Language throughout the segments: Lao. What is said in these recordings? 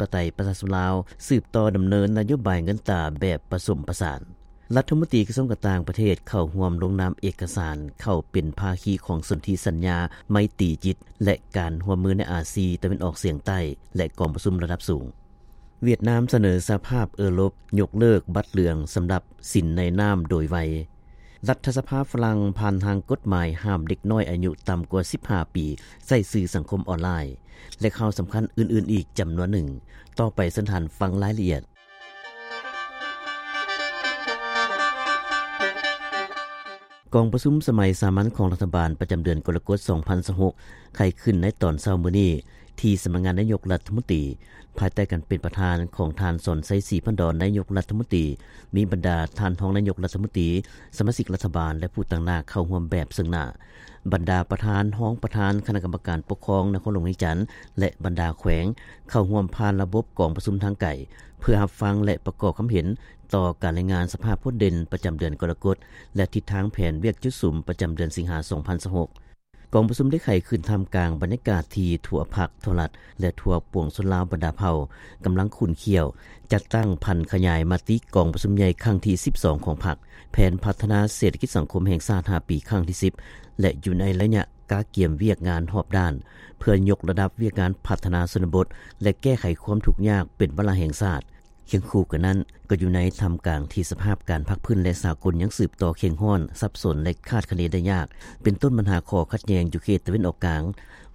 ປະໄຕປະຊາຊົນລາວ ສືບຕໍ່ດຳເນີນນະໂຍບາຍເງິນຕາແບບປະສົມປະສານ. ລັດຖະມົນຕີກະຊວງການຕ່າງປະເທດເຂົ້າຮ່ວມລົງນາມເອກະສານເຂົ້າເປັນພາຄີຂອງສົນທິສັນຍາໄມຕີຈິດ ແລະ ການຮ່ວມມືໃນອາຊີຕາເວັນອອກສຽງໃຕ້ ແລະ ກອງປະຊຸມລະດັບສູງ. ຫວຽດນາມສະເໜີສະຫະພາບເອີຣົບຍົກເລີກບັດເຫຼືອງສຳລັບສິນໃນນ້ຳໂດຍໄວ. ລັດຖະສະພາຝຣັ່ງຜ່ານຮ່າງກົດໝາຍຫ້າມເດັກນ້ອຍອາຍຸຕ່ຳກວ່າສິບຫ້າປີໃຊ້ສື່ສັງຄົມອອນລາຍ ແລະ ຂ່າວສຳຄັນອື່ນໆອີກຈຳນວນໜຶ່ງ. ຕໍ່ໄປເຊີນທ່ານຟັງລາຍລະອຽດ. ກອງປະຊຸມສະໄໝສາມັນຂອງລັດຖະບານປະຈຳເດືອນກໍລະກົດ ສອງພັນຊາວຫົກ ໄຂຂຶ້ນໃນຕອນເຊົ້າມື້ນີ້ ທີ່ສຳນັກງານນາຍົກລັດຖະມົນຕີ ພາຍໃຕ້ການເປັນປະທານຂອງທ່ານ ສອນໄຊ ສີພັນດອນ ນາຍົກລັດຖະມົນຕີ, ມີບັນດາທ່ານຮອງນາຍົກລັດຖະມົນຕີ, ສະມາຊິກລັດຖະບານ ແລະ ຜູ້ຕາງໜ້າເຂົ້າຮ່ວມແບບເຊິ່ງໜ້າ. ບັນດາປະທານ, ຮອງປະທານຄະນະກຳມະການປົກຄອງນະຄອນຫຼວງວຽງຈັນ ແລະ ບັນດາແຂວງ ເຂົ້າຮ່ວມຜ່ານລະບົບກອງປະຊຸມທາງໄກ ເພື່ອຮັບຟັງ ແລະ ປະກອບຄຳເຫັນຕໍ່ການລາຍງານສະພາບພົ້ນເດັ່ນປະຈຳເດືອນກໍລະກົດ ແລະ ທິດທາງແຜນວຽກຈຸດສຸມປະຈຳເດືອນສິງຫາ ສອງພັນຊາວຫົກ. ກອງປະຊຸມໄດ້ໄຂຂຶ້ນທ່າມກາງບັນຍາກາດທີ່ທົ່ວພັກ, ທົ່ວລັດ ແລະ ທົ່ວປວງຊົນລາວບັນດາເຜົ່າກຳລັງຂຸ້ນຂ້ຽວ ຈັດຕັ້ງຜັນຂະຫຍາຍມະຕິກອງປະຊຸມໃຫຍ່ຄັ້ງທີສິບສອງຂອງພັກ, ແຜນພັດທະນາເສດຖະກິດສັງຄົມແຫ່ງຊາດຫ້າປີຄັ້ງທີສິບ ແລະ ຢູ່ໃນໄລຍະກະກຽມວຽກງານຮອບດ້ານ ເພື່ອຍົກລະດັບວຽກງານພັດທະນາຊົນນະບົດ ແລະ ແກ້ໄຂຄວາມທຸກຍາກເປັນວາລະແຫ່ງຊາດ. ຄຽງຄູ່ກັນນັ້ນ, ກໍຢູ່ໃນທ່າມກາງທີ່ສະພາບການພາກພື້ນ ແລະ ສາກົນຍັງສືບຕໍ່ເຄັ່ງຮ້ອນ, ສັບສົນ ແລະ ຄາດຄະເນໄດ້ຍາກ, ເປັນຕົ້ນບັນຫາຂໍ້ຂັດແຍ່ງຢູ່ເຂດຕາເວັນອອກກາງ,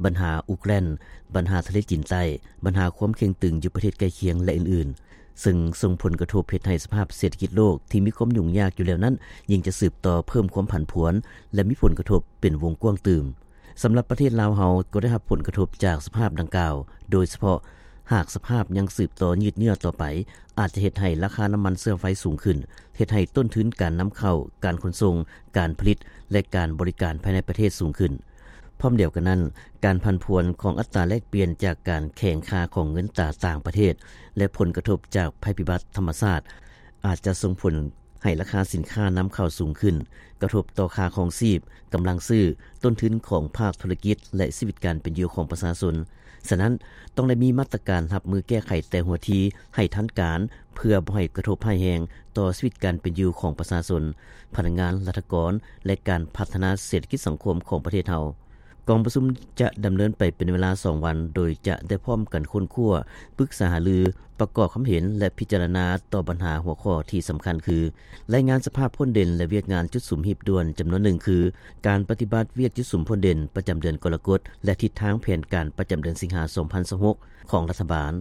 ບັນຫາອຸກແລນ, ບັນຫາທະເລຈີນໃຕ້, ບັນຫາຄວາມເຄັ່ງຕຶງຢູ່ປະເທດໃກ້ຄຽງ ແລະ ອື່ນໆ, ເຊິ່ງສົ່ງຜົນກະທົບເຮັດໃຫ້ສະພາບເສດຖະກິດໂລກທີ່ມີຄວາມຫຍຸ້ງຍາກຢູ່ແລ້ວນັ້ນ ຍິ່ງຈະສືບຕໍ່ເພີ່ມຄວາມຜັນຜວນ ແລະ ມີຜົນກະທົບເປັນວົງກວ້າງຕື່ມ. ສຳລັບປະເທດລາວເຮົາກໍໄດ້ຮັບຜົນກະທົບຈາກສະພາບດັ່ງກ່າວ, ໂດຍສະເພາະຫາກສະພາບຍັງສືບຕໍ່ຍືດເຍື້ອຕໍ່ໄປ, ອາດຈະເຮັດໃຫ້ລາຄານ້ຳມັນເຊື້ອໄຟສູງຂຶ້ນ, ເຮັດໃຫ້ຕົ້ນທຶນການນຳເຂົ້າ, ການຂົນສົ່ງ, ການຜະລິດ ແລະ ການບໍລິການພາຍໃນປະເທດສູງຂຶ້ນ. ພ້ອມດຽວກັນນັ້ນ, ການຜັນຜວນຂອງອັດຕາແລກປ່ຽນຈາກການແຂງຄ່າຂອງເງິນຕາຕ່າງປະເທດ ແລະ ຜົນກະທົບຈາກໄພພິບັດທຳມະຊາດ ອາດຈະສົ່ງຜົນ ໃຫ້ລາຄາສິນຄ້ານຳເຂົ້າສູງຂຶ້ນ, ກະທົບຕໍ່ຄ່າຄອງຊີບ, ກຳລັງຊື້, ຕົ້ນທຶນຂອງພາກທຸລະກິດ ແລະ ຊີວິດການເປັນຢູ່ຂອງປະຊາຊົນ. ສະນັ້ນ, ຕ້ອງໄດ້ມີມາດຕະການຮັບມືແກ້ໄຂແຕ່ຫົວທີໃຫ້ທັນການ, ເພື່ອບໍ່ໃຫ້ກະທົບຮ້າຍແຮງຕໍ່ຊີວິດການເປັນຢູ່ຂອງປະຊາຊົນ, ພະນັກງານ, ລັດຖະກອນ ແລະ ການພັດທະນາເສດຖະກິດສັງຄົມຂອງປະເທດເຮົາ. ກອງປະຊຸມຈະດຳເນີນໄປເປັນເວລາສອງວັນ, ໂດຍຈະໄດ້ພ້ອມກັນຄົ້ນຄວ້າ, ປຶກສາຫາລື, ປະກອບຄຳເຫັນ ແລະ ພິຈາລະນາຕໍ່ບັນຫາຫົວຂໍ້ທີ່ສຳຄັນຄື ລາຍງານສະພາບພົ້ນເດັ່ນ ແລະ ວຽກງານຈຸດສຸມຮີບດ່ວນຈຳນວນໜຶ່ງຄື ການປະຕິບັດວຽກຈຸດສຸມພົ້ນເດັ່ນປະຈຳເດືອນກໍລະກົດ ແລະ ທິດທາງແຜນການປະຈຳເດືອນສິງຫາ ສອງພັນຊາວຫົກ ຂອງລັດຖະບານ,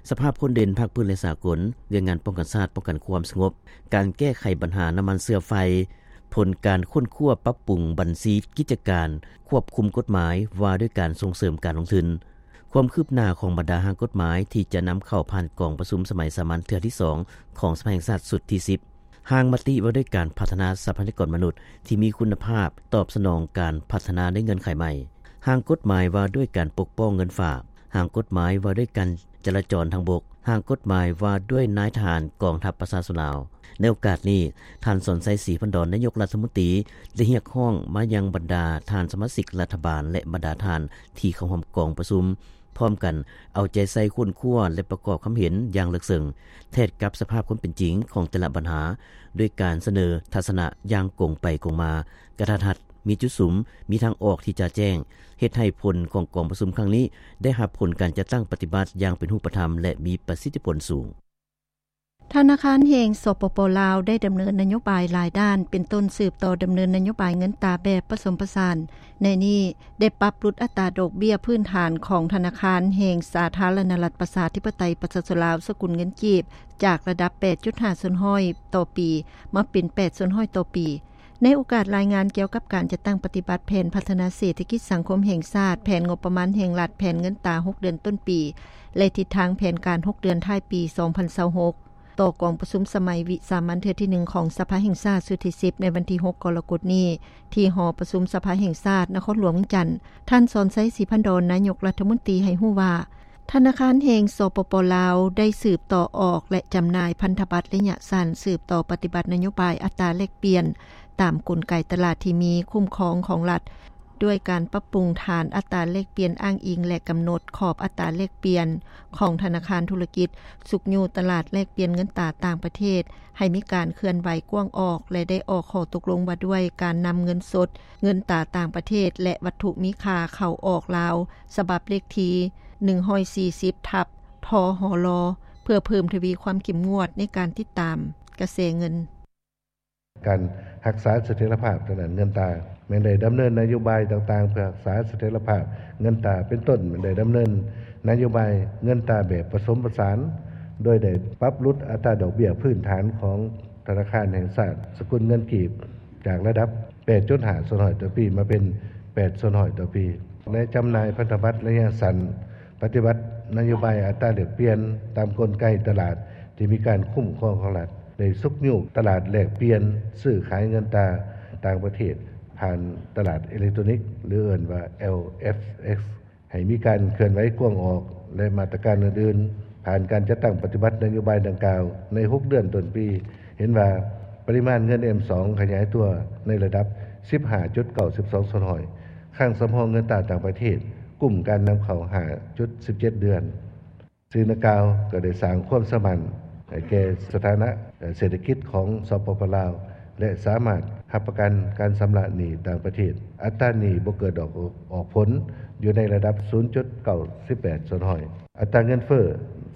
ສະພາບພົ້ນເດັ່ນພາກພື້ນ ແລະ ສາກົນ, ວຽກງານປ້ອງກັນຊາດ, ປ້ອງກັນຄວາມສະຫງົບ, ການແກ້ໄຂບັນຫານ້ຳມັນເຊື້ອໄຟ, ຜົນການຄົ້ນຄວ້າປັບປຸງບັນຊີກິດຈະການ, ຄວບຄຸມກົດໝາຍວ່າດ້ວຍການສົ່ງເສີມການລົງທຶນ, ຄວາມຄືບໜ້າຂອງບັນດາຮ່າງກົດໝາຍທີ່ຈະນຳເຂົ້າຜ່ານກອງປະຊຸມສະໄໝສາມັນເທື່ອທີສອງຂອງສະພາແຫ່ງຊາດຊຸດທີສິບ, ຮ່າງມະຕິວ່າດ້ວຍການພັດທະນາຊັບພະຍາກອນມະນຸດທີ່ມີຄຸນນະພາບຕອບສະໜອງການພັດທະນາໃນເງື່ອນໄຂໃໝ່, ຮ່າງກົດໝາຍວ່າດ້ວຍການປົກປ້ອງເງິນຝາກ, ຮ່າງກົດໝາຍວ່າດ້ວຍການຈະລາຈອນທາງບົກ, ຮ່າງກົດໝາຍວ່າດ້ວຍນາຍທະຫານກອງທັບປະຊາຊົນລາວ. ໃນໂອກາດນີ້, ທ່ານ ສອນໄຊ ສີພັນດອນ ນາຍົກລັດຖະມົນຕີ ໄດ້ຮຽກຮ້ອງມາຍັງບັນດາທ່ານສະມາຊິກລັດຖະບານ ແລະ ບັນດາທ່ານທີ່ເຂົ້າຮ່ວມກອງປະຊຸມ ພ້ອມກັນເອົາໃຈໃສ່ຄົ້ນຄວ້າ ແລະ ປະກອບຄຳເຫັນຢ່າງເລິກເຊິ່ງ ແທດກັບສະພາບຄວາມເປັນຈິງຂອງແຕ່ລະບັນຫາ ດ້ວຍການສະເໜີທັດສະນະຢ່າງກົງໄປກົງມາ, ກະທັດຮັດ, ມີຈຸດສຸມ, ມີທາງອອກທີ່ຈະແຈ້ງ, ເຮັດໃຫ້ຜົນຂອງກອງປະຊຸມຄັ້ງນີ້ໄດ້ຮັບຜົນການຈັດຕັ້ງປະຕິບັດຢ່າງເປັນຮູບປະທຳ ແລະ ມີປະສິດທິຜົນສູງ. ທະນາຄານແຫ່ງ ສປປ ລາວ ໄດ້ດຳເນີນນະໂຍບາຍຫຼາຍດ້ານ, ເປັນຕົ້ນສືບຕໍ່ດຳເນີນນະໂຍບາຍເງິນຕາແບບປະສົມປະສານ. ໃນນີ້ໄດ້ປັບຫຼຸດອັດຕາດອກເບ້ຍພື້ນຖານຂອງທະນາຄານແຫ່ງສາທາລະນະລັດ ປະຊາທິປະໄຕ ປະຊາຊົນລາວ ສະກຸນເງິນກີບ ຈາກລະດັບ ແປດຈຸດຫ້າສ່ວນຮ້ອຍຕໍ່ປີ ມາເປັນ ແປດສ່ວນຮ້ອຍຕໍ່ປີ. ໃນໂອກາດລາຍງານກ່ຽວກັບການຈັດຕັ້ງປະຕິບັດແຜນພັດທະນາເສດຖະກິດສັງຄົມແຫ່ງຊາດ, ແຜນງົບປະມານແຫ່ງລັດ, ແຜນເງິນຕາຫົກເດືອນຕົ້ນປີ ແລະ ທິດທາງແຜນການຫົກເດືອນທ້າຍປີ ສອງພັນຊາວຫົກ ຕໍ່ກອງປະຊຸມສະໄໝວິສາມັນເທື່ອທີໜຶ່ງຂອງສະພາແຫ່ງຊາດຊຸດທີສິບ ໃນວັນທີຫົກ ກໍລະກົດນີ້ ທີ່ຫໍປະຊຸມສະພາແຫ່ງຊາດ ນະຄອນຫຼວງວຽງຈັນ, ທ່ານ ສອນໄຊ ສີພັນດອນ ນາຍົກລັດຖະມົນຕີ ໃຫ້ຮູ້ວ່າ ທະນາຄານແຫ່ງ ສປປ ລາວ ໄດ້ສືບຕໍ່ອອກ ແລະ ຈຳໜ່າຍພັນທະບັດໄລຍະສັ້ນ, ສືບຕໍ່ປະຕິບັດນະໂຍບາຍອັດຕາແລກປ່ຽນ ຕາມກົນໄກຕະຫຼາດທີ່ມີຄຸ້ມຄອງຂອງລັດ, ດ້ວຍການປັບປຸງຖານອັດຕາແລກປ່ຽນອ້າງອີງ ແລະ ກຳນົດຂອບອັດຕາແລກປ່ຽນຂອງທະນາຄານທຸລະກິດ, ຊຸກຍູ້ຕະຫຼາດແລກປ່ຽນເງິນຕາຕ່າງປະເທດໃຫ້ມີການເຄື່ອນໄຫວກວ້າງອອກ ແລະ ໄດ້ອອກຂໍ້ຕົກລົງວ່າດ້ວຍການນຳເງິນສົດ, ເງິນຕາຕ່າງປະເທດ ແລະ ວັດຖຸມີຄ່າເຂົ້າອອກລາວ ສະບັບເລກທີໜຶ່ງຮ້ອຍສີ່ສິບ ທັບ ທຫລ ເພື່ອເພີ່ມທະວີຄວາມເຂັ້ມງວດໃນການຕິດຕາມກະແສເງິນ. ການຮັກສາສະຖຽນລະພາບທາງດ້ານເງິນຕາ ແມ່ນໄດ້ດຳເນີນນະໂຍບາຍຕ່າງໆ ເພື່ອຮັກສາສະຖຽນລະພາບເງິນຕາ ເປັນຕົ້ນ ແມ່ນໄດ້ດຳເນີນນະໂຍບາຍເງິນຕາແບບປະສົມປະສານ ໂດຍໄດ້ປັບຫຼຸດອັດຕາດອກເບ້ຍພື້ນຖານຂອງທະນາຄານແຫ່ງຊາດ ສະກຸນເງິນກີບ ຈາກລະດັບແປດຈຸດຫ້າສ່ວນຮ້ອຍຕໍ່ປີ ມາເປັນແປດສ່ວນຮ້ອຍຕໍ່ປີ ແລະ ຈຳໜ່າຍພັນທະບັດໄລຍະສັ້ນ ປະຕິບັດນະໂຍບາຍອັດຕາແລກປ່ຽນຕາມກົນໄກຕະຫຼາດທີ່ມີການຄຸ້ມຄອງຂອງລັດ, ໄດ້ຊຸກຍູ້ຕະຫຼາດແລກປ່ຽນຊື້ຂາຍເງິນຕາຕ່າງປະເທດ ຜ່ານຕະຫຼາດເອເລັກໂຕນິກ ຫຼື ເອີ້ນວ່າ ແອລເອັຟເອັກ ໃຫ້ມີການເຄື່ອນໄຫວກວ້າງອອກ ແລະ ມາດຕະການອື່ນໆ. ຜ່ານການຈັດຕັ້ງປະຕິບັດນະໂຍບາຍດັ່ງກ່າວໃນຫົກເດືອນຕົ້ນປີ, ເຫັນວ່າປະລິມານເງິນ ເອັມສອງ ຂະຫຍາຍຕົວໃນລະດັບສິບຫ້າຈຸດເກົ້າສິບສອງສ່ວນຮ້ອຍ, ຄັງສຳຮອງເງິນຕາຕ່າງປະເທດ ກຸ້ມການນຳເຂົ້າຫ້າຈຸດສິບເຈັດເດືອນ. ສິ່ງດັ່ງກ່າວກໍໄດ້ສ້າງຄວາມເຊື່ອໝັ້ນໃຫ້ແກ່ສະຖານະເສດຖະກິດຂອງ ສປປ ລາວ ແລະ ສາມາດຮັບປະກັນການຊຳລະໜີ້ຕ່າງປະເທດ. ອັດຕາໜີ້ບໍ່ເກີດອອກ ອອກຜົນ ຢູ່ໃນລະດັບສູນຈຸດເກົ້າສິບແປດສ່ວນຮ້ອຍ. ອັດຕາເງິນເຟີ້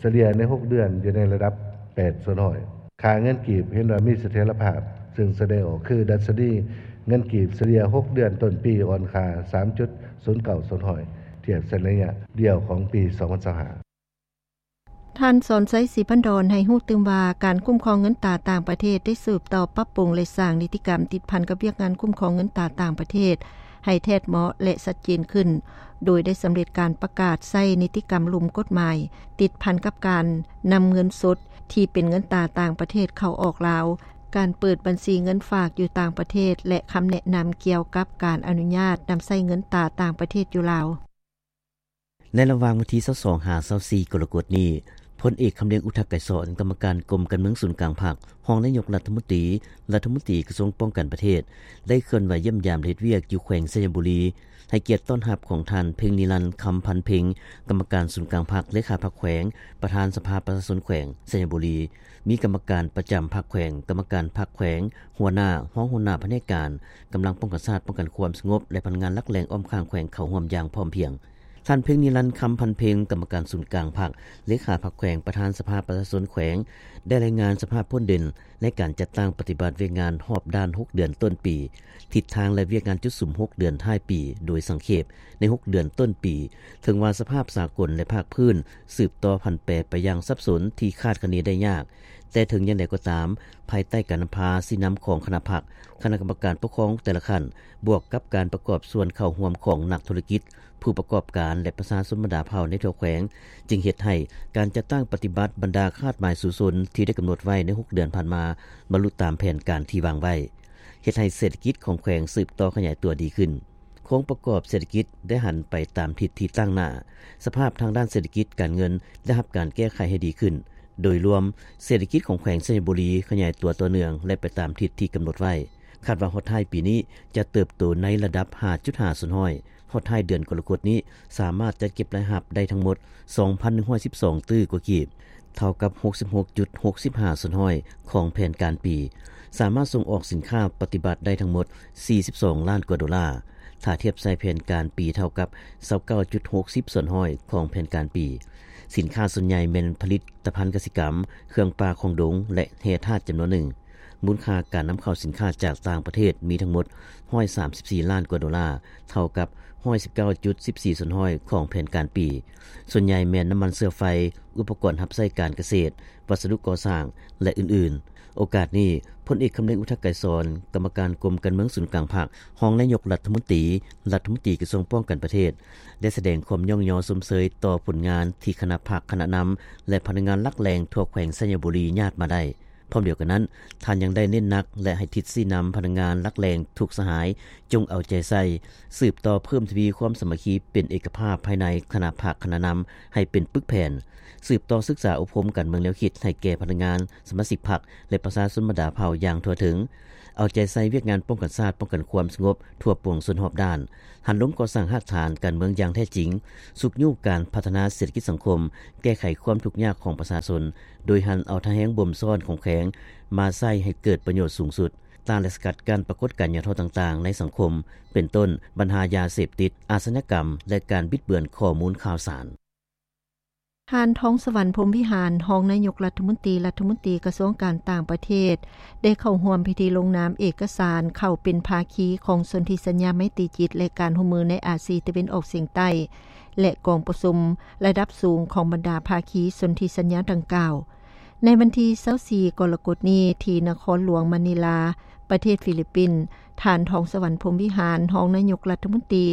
ສະເລ່ຍໃນຫົກເດືອນຢູ່ໃນລະດັບແປດສ່ວນຮ້ອຍ. ຄ່າເງິນກີບເຫັນວ່າມີສະຖຽນລະພາບ, ຊຶ່ງສະແດງອອກຄືດັດຊະນີເງິນກີບສະເລ່ຍຫົກເດືອນຕົ້ນປີອ່ອນຄ່າສາມຈຸດສູນເກົ້າສ່ວນຮ້ອຍ ທຽບໃສ່ໄລຍະດຽວຂອງປີສອງພັນຊາວຫ້າ. ທ່ານ ສອນໄຊ ສີພັນດອນ ໃຫ້ຮູ້ຕື່ມວ່າ ການຄຸ້ມຄອງເງິນຕາຕ່າງປະເທດໄດ້ສືບຕໍ່ປັບປຸງ ແລະ ສ້າງນິຕິກຳຕິດພັນກັບວຽກງານຄຸ້ມຄອງເງິນຕາຕ່າງປະເທດໃຫ້ແທດເໝາະ ແລະ ຊັດເຈນຂຶ້ນ, ໂດຍໄດ້ສຳເລັດການປະກາດໃຊ້ນິຕິກຳລຸ່ມກົດໝາຍ ຕິດພັນກັບການນຳເງິນສົດທີ່ເປັນເງິນຕາຕ່າງປະເທດເຂົ້າອອກລາວ, ການເປີດບັນຊີເງິນຝາກຢູ່ຕ່າງປະເທດ ແລະ ຄຳແນະນຳກ່ຽວກັບການອະນຸຍາດນຳໃຊ້ເງິນຕາຕ່າງປະເທດຢູ່ລາວ. ໃນລະຫວ່າງວັນທີຊາວສອງ ຫາ ຊາວສີ່ ກໍລະກົດນີ້, ພົນເອກ ຄຳລຽງ ອຸທະໄກສອນ ກຳມະການກົມການເມືອງສູນກາງພັກ, ຮອງນາຍົກລັດຖະມົນຕີ, ລັດຖະມົນຕີກະຊວງປ້ອງກັນປະເທດ ໄດ້ເຄື່ອນໄຫວຢ້ຽມຢາມ ແລະ ເຮັດວຽກຢູ່ແຂວງໄຊຍະບູລີ, ໃຫ້ກຽດຕ້ອນຮັບຂອງທ່ານ ເພັງນິລັນ ຄຳພັນເພັງ ກຳມະການສູນກາງພັກ, ເລຂາພັກແຂວງ, ປະທານສະພາປະຊາຊົນແຂວງໄຊຍະບູລີ, ມີກຳມະການປະຈຳພັກແຂວງ, ກຳມະການພັກແຂວງ, ຫົວໜ້າ, ຮອງຫົວໜ້າພະແນກການ, ກຳລັງປ້ອງກັນຊາດ, ປ້ອງກັນຄວາມສະຫງົບ ແລະ ພະນັກງານຫຼັກແຫຼ່ງອ້ອມຂ້າງແຂວງເຂົ້າຮ່ວມຢ່າງພ້ອມພຽງ. ທ່ານ ເພັງນິລັນ ຄຳພັນເພັງ ກຳມະການສູນກາງພັກ, ເລຂາພັກແຂວງ, ປະທານສະພາປະຊາຊົນແຂວງ ໄດ້ລາຍງານສະພາບຜົນເດັ່ນໃນການຈັດຕັ້ງປະຕິບັດວຽກງານຮອບດ້ານຫົກເດືອນຕົ້ນປີ, ທິດທາງ ແລະ ວຽກງານຈຸດສຸມຫົກເດືອນທ້າຍປີ ໂດຍສັງເຂບໃນຫົກເດືອນຕົ້ນປີ, ເຖິງວ່າສະພາບສາກົນ ແລະ ພາກພື້ນສືບຕໍ່ຜັນແປໄປຢ່າງສັບສົນທີ່ຄາດຄະເນໄດ້ຍາກ, ແຕ່ເຖິງຢ່າງໃດກໍຕາມ, ພາຍໃຕ້ການນຳພາຊີ້ນຳຂອງຄະນະພັກ, ຄະນະກຳມະການປົກຄອງແຕ່ລະຂັ້ນ, ບວກກັບການປະກອບສ່ວນເຂົ້າຮ່ວມຂອງນັກທຸລະກິດ, ຜູ້ປະກອບການ ແລະ ປະຊາຊົນບັນດາເຜົ່າໃນທົ່ວແຂວງ, ຈຶ່ງເຮັດໃຫ້ການຈັດຕັ້ງປະຕິບັດບັນດາຄາດໝາຍສູ້ຊົນທີ່ໄດ້ກຳນົດໄວ້ໃນຫົກເດືອນຜ່ານມາ ບັນລຸຕາມແຜນການທີ່ວາງໄວ້, ເຮັດໃຫ້ເສດຖະກິດຂອງແຂວງສືບຕໍ່ຂະຫຍາຍຕົວດີຂຶ້ນ. ໂຄງປະກອບເສດຖະກິດໄດ້ຫັນໄປຕາມທິດທີ່ຕັ້ງໜ້າ, ສະພາບທາງດ້ານເສດຖະກິດການເງິນໄດ້ຮັບການແກ້ໄຂໃຫ້ດີຂຶ້ນ. ໂດຍລວມ, ເສດຖະກິດຂອງແຂວງໄຊຍະບູລີຂະຫຍາຍຕົວຕໍ່ເນື່ອງ ແລະ ໄປຕາມທິດທີ່ກຳນົດໄວ້. ຄາດວ່າຮອດທ້າຍປີນີ້ຈະເຕີບໂຕໃນລະດັບຫ້າຈຸດຫ້າສ່ວນຮ້ອຍ, ຮອດທ້າຍເດືອນກໍລະກົດນີ້ສາມາດຈັດເກັບລາຍຮັບໄດ້ທັງໝົດສອງພັນໜຶ່ງຮ້ອຍສິບສອງຕື້ກວ່າກີບ, ເທົ່າກັບຫົກສິບຫົກຈຸດຫົກສິບຫ້າສ່ວນຮ້ອຍຂອງແຜນການປີ, ສາມາດສົ່ງອອກສິນຄ້າປະຕິບັດໄດ້ທັງໝົດສີ່ສິບສອງລ້ານກວ່າໂດລາ, ຖ້າທຽບໃສ່ແຜນການປີເທົ່າກັບຊາວເກົ້າຈຸດຫົກສິບສ່ວນຮ້ອຍຂອງແຜນການປີ. ສິນຄ້າສ່ວນໃຫຍ່ແມ່ນຜະລິດຕະພັນກະສິກຳ, ເຄື່ອງປ່າຂອງດົງ ແລະ ແຮ່ທາດຈຳນວນໜຶ່ງ. ມູນຄ່າການນຳເຂົ້າສິນຄ້າຈາກຕ່າງປະເທດມີທັງໝົດຮ້ອຍສາມສິບສີ່ລ້ານກວ່າໂດລາ, ເທົ່າກັບຮ້ອຍສິບເກົ້າຈຸດສິບສີ່ສ່ວນຮ້ອຍຂອງແຜນການປີ. ສ່ວນໃຫຍ່ແມ່ນນ້ຳມັນເຊື້ອໄຟ, ອຸປະກອນຮັບໃຊ້ການກະເສດ, ວັດສະດຸກໍ່ສ້າງ ແລະ ອື່ນໆ. ໂອກາດນີ້, ພົນເອກ ຄຳເລັງ ອຸທະໄກສອນ, ກຳມະການກົມການເມືອງສູນກາງພັກ, ຮອງນາຍົກລັດຖະມົນຕີ, ລັດຖະມົນຕີກະຊວງປ້ອງກັນປະເທດ ໄດ້ສະແດງຄວາມຍ້ອງຍໍຊົມເຊີຍຕໍ່ຜົນງານທີ່ຄະນະພັກ, ຄະນະນຳ ແລະ ພະນັກງານຫຼັກແຫຼ່ງທົ່ວແຂວງໄຊຍະບູລີຍາດມາໄດ້. ພ້ອມດຽວກັນນັ້ນ, ທ່ານຍັງໄດ້ເນັ້ນໜັກ ແລະ ໃຫ້ທິດຊີ້ນຳພະນັກງານຫຼັກແຫຼ່ງທຸກສະຫາຍ ຈົ່ງເອົາໃຈໃສ່ ສືບຕໍ່ເພີ່ມທະວີຄວາມສາມັກຄີເປັນເອກະພາບພາຍໃນຄະນະພັກຄະນະນຳໃຫ້ເປັນປຶກແຜ່ນ, ສືບຕໍ່ສຶກສາອົບຮົມການເມືອງແນວຄິດໃຫ້ແກ່ພະນັກງານ, ສະມາຊິກພັກ ແລະ ປະຊາຊົນບັນດາເຜົ່າຢ່າງທົ່ວເຖິງ, ເອົາໃຈໃສ່ວຽກງານປ້ອງກັນຊາດ, ປ້ອງກັນຄວາມສະຫງົບທົ່ວປວງຊົນຮອບດ້ານ, ຫັນລົງກໍ່ສ້າງຮາກຖານການເມືອງຢ່າງແທ້ຈິງ, ຊຸກຍູ້ການພັດທະນາເສດຖະກິດສັງຄົມ, ແກ້ໄຂຄວາມທຸກຍາກຂອງປະຊາຊົນ, ໂດຍຫັນເອົາທ່າແຮງບົ່ມຊ້ອນຂອງແຂວງມາໃຊ້ໃຫ້ເກີດປະໂຫຍດສູງສຸດ, ຕ້ານ ແລະ ສະກັດກັ້ນປາກົດການຫຍໍ້ທໍ້ຕ່າງໆໃນສັງຄົມ, ເປັນຕົ້ນ ບັນຫາຢາເສບຕິດ, ອາຊະຍາກຳ ແລະ ການບິດເບືອນຂໍ້ມູນຂ່າວສານ. ທ່ານ ທອງສະຫວັນ ພົມວິຫານ ຮອງນາຍົກລັດຖະມົນຕີ, ລັດຖະມົນຕີກະຊວງການຕ່າງປະເທດ ໄດ້ເຂົ້າຮ່ວມພິທີລົງນາມເອກະສານເຂົ້າເປັນພາຄີຂອງສົນທິສັນຍາໄມຕີຈິດ ແລະ ການຮ່ວມມືໃນອາຊີຕາເວັນອອກສຽງໃຕ້ ແລະ ກອງປະຊຸມລະດັບສູງຂອງບັນດາພາຄີສົນທິສັນຍາດັ່ງກ່າວ. ໃນວັນທີຊາວສີ່ ກໍລະກົດນີ້ ທີ່ນະຄອນຫຼວງມະນີລາ, ປະເທດຟີລິບປິນ, ທ່ານ ທອງສະຫວັນ ພົມວິຫານ ຮອງນາຍົກລັດຖະມົນຕີ,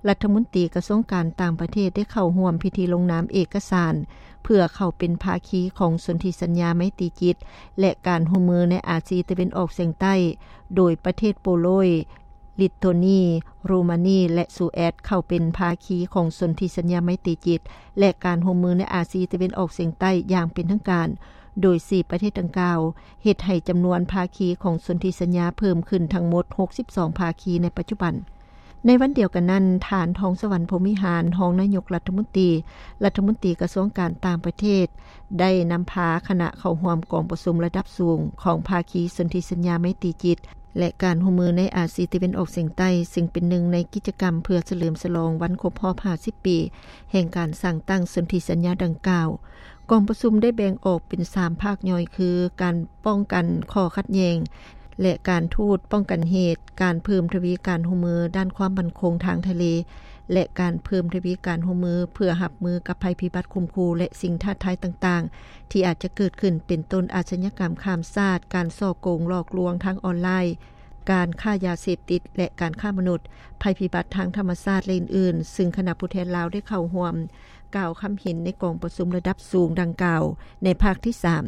ລັດຖະມົນຕີກະຊວງການຕ່າງປະເທດ ໄດ້ເຂົ້າຮ່ວມພິທີລົງນາມເອກະສານ ເພື່ອເຂົ້າເປັນພາຄີຂອງສົນທິສັນຍາໄມຕີຈິດ ແລະ ການຮ່ວມມືໃນອາຊີຕາເວັນອອກສຽງໃຕ້, ໂດຍປະເທດໂປໂລຍ, ລິດໂທນີ, ໂຣມານີ ແລະ ສະວີເດນ ເຂົ້າເປັນພາຄີຂອງສົນທິສັນຍາໄມຕີຈິດ ແລະ ການຮ່ວມມືໃນອາຊີຕາເວັນອອກສຽງໃຕ້ຢ່າງເປັນທາງການ, ໂດຍສີ່ປະເທດດັ່ງກ່າວ ເຮັດໃຫ້ຈຳນວນພາຄີຂອງສົນທິສັນຍາເພີ່ມຂຶ້ນທັງໝົດຫົກສິບສອງພາຄີໃນປັດຈຸບັນ. ໃນວັນດຽວກັນນັ້ນ, ທ່ານ ທອງສະຫວັນ ພົມວິຫານ ຮອງນາຍົກລັດຖະມົນຕີ, ລັດຖະມົນຕີກະຊວງການຕ່າງປະເທດ ໄດ້ນຳພາຄະນະເຂົ້າຮ່ວມກອງປະຊຸມລະດັບສູງຂອງພາຄີສົນທິສັນຍາໄມຕີຈິດ ແລະ ການຮ່ວມມືໃນອາຊີຕາເວັນອອກສຽງໃຕ້, ເຊິ່ງເປັນໜຶ່ງໃນກິດຈະກຳເພື່ອສະເຫຼີມສະຫຼອງວັນຄົບຮອບຫ້າສິບປີ ແຫ່ງການສ້າງຕັ້ງສົນທິສັນຍາດັ່ງກ່າວ. ກອງປະຊຸມໄດ້ແບ່ງອອກເປັນສາມພາກຍ່ອຍ ຄື ການປ້ອງກັນຂໍ້ຂັດແຍ່ງ ແລະ ການທູດປ້ອງກັນເຫດ, ການເພີ່ມທະວີການຮ່ວມມືດ້ານຄວາມໝັ້ນຄົງທາງທະເລ ແລະ ການເພີ່ມທະວີການຮ່ວມມືເພື່ອຮັບມືກັບໄພພິບັດຂົ່ມຂູ່ ແລະ ສິ່ງທ້າທາຍຕ່າງໆ ທີ່ອາດຈະເກີດຂຶ້ນ, ເປັນຕົ້ນ ອາຊະຍາກຳຂ້າມຊາດ, ການສໍ້ໂກງຫຼອກລວງທາງອອນລາຍ, ການຄ້າຢາເສບຕິດ ແລະ ການຄ້າມະນຸດ, ໄພພິບັດທາງທຳມະຊາດ ແລະ ອື່ນໆ, ຊຶ່ງຄະນະຜູ້ແທນລາວໄດ້ເຂົ້າຮ່ວມ ກ່າວຄຳເຫັນໃນກອງປະຊຸມລະດັບສູງດັ່ງກ່າວໃນພາກທີສາມ.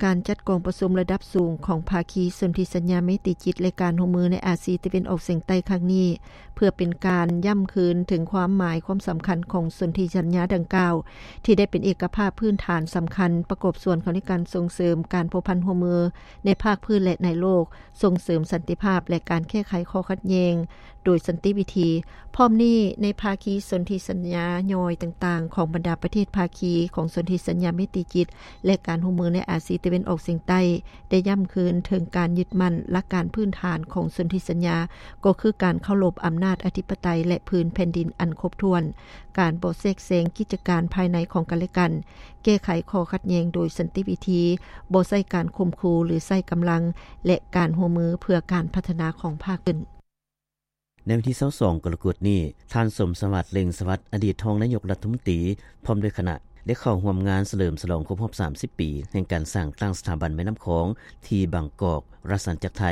ການຈັດກອງປະຊຸມລະດັບສູງຂອງພາຄີສົນທິສັນຍາໄມຕີຈິດ ແລະ ການຮ່ວມມືໃນອາຊີຕາເວັນອອກສຽງໃຕ້ຄັ້ງນີ້ ເພື່ອເປັນການຢ້ຳຄືນເຖິງຄວາມໝາຍຄວາມສຳຄັນຂອງສົນທິສັນຍາດັ່ງກ່າວ ທີ່ໄດ້ເປັນເອກະພາບພື້ນຖານສຳຄັນ ປະກອບສ່ວນເຂົ້າໃນການສົ່ງເສີມການພົວພັນຮ່ວມມືໃນພາກພື້ນ ແລະ ໃນໂລກ, ສົ່ງເສີມສັນຕິພາບ ແລະ ການແກ້ໄຂຂໍ້ຂັດແຍ່ງ ໂດຍສັນຕິວິທີ. ພ້ອມນີ້, ໃນພາຄີສົນທິສັນຍາຍ່ອຍຕ່າງໆຂອງບັນດາປະເທດພາຄີຂອງສົນທິສັນຍາໄມຕີຈິດ ແລະ ການຮ່ວມມືໃນອາຊີຕາເວັນອອກສຽງໃຕ້ ໄດ້ຢ້ຳຄືນເຖິງການຍຶດໝັ້ນຫຼັກການພື້ນຖານຂອງສົນທິສັນຍາ, ກໍຄືການເຄົາລົບອຳນາດອະທິປະໄຕ ແລະ ພື້ນແຜ່ນດິນອັນຄົບຖ້ວນ, ການບໍ່ແຊກແຊງກິດຈະການພາຍໃນຂອງກັນ ແລະ ກັນ, ແກ້ໄຂຂໍ້ຂັດແຍ່ງໂດຍສັນຕິວິທີ, ບໍ່ໃຊ້ການຂົ່ມຂູ່ ຫຼື ໃຊ້ກຳລັງ ແລະ ການຮ່ວມມືເພື່ອການພັດທະນາຂອງພາກພື້ນ. ໃນວັນທີຊາວສອງ ກໍລະກົດນີ້, ທ່ານ ສົມສະຫວັດ ເລັ່ງສະຫວັດ ອະດີດຮອງນາຍົກລັດຖະມົນຕີ ພ້ອມດ້ວຍຄະນະ ໄດ້ເຂົ້າຮ່ວມງານສະເຫຼີມສະຫຼອງຄົບຮອບສາມສິບປີ ແຫ່ງການສ້າງຕັ້ງສະຖາບັນແມ່ນ້ຳຂອງ ທີ່ບາງກອກ, ລັດສັນຈັກໄທ,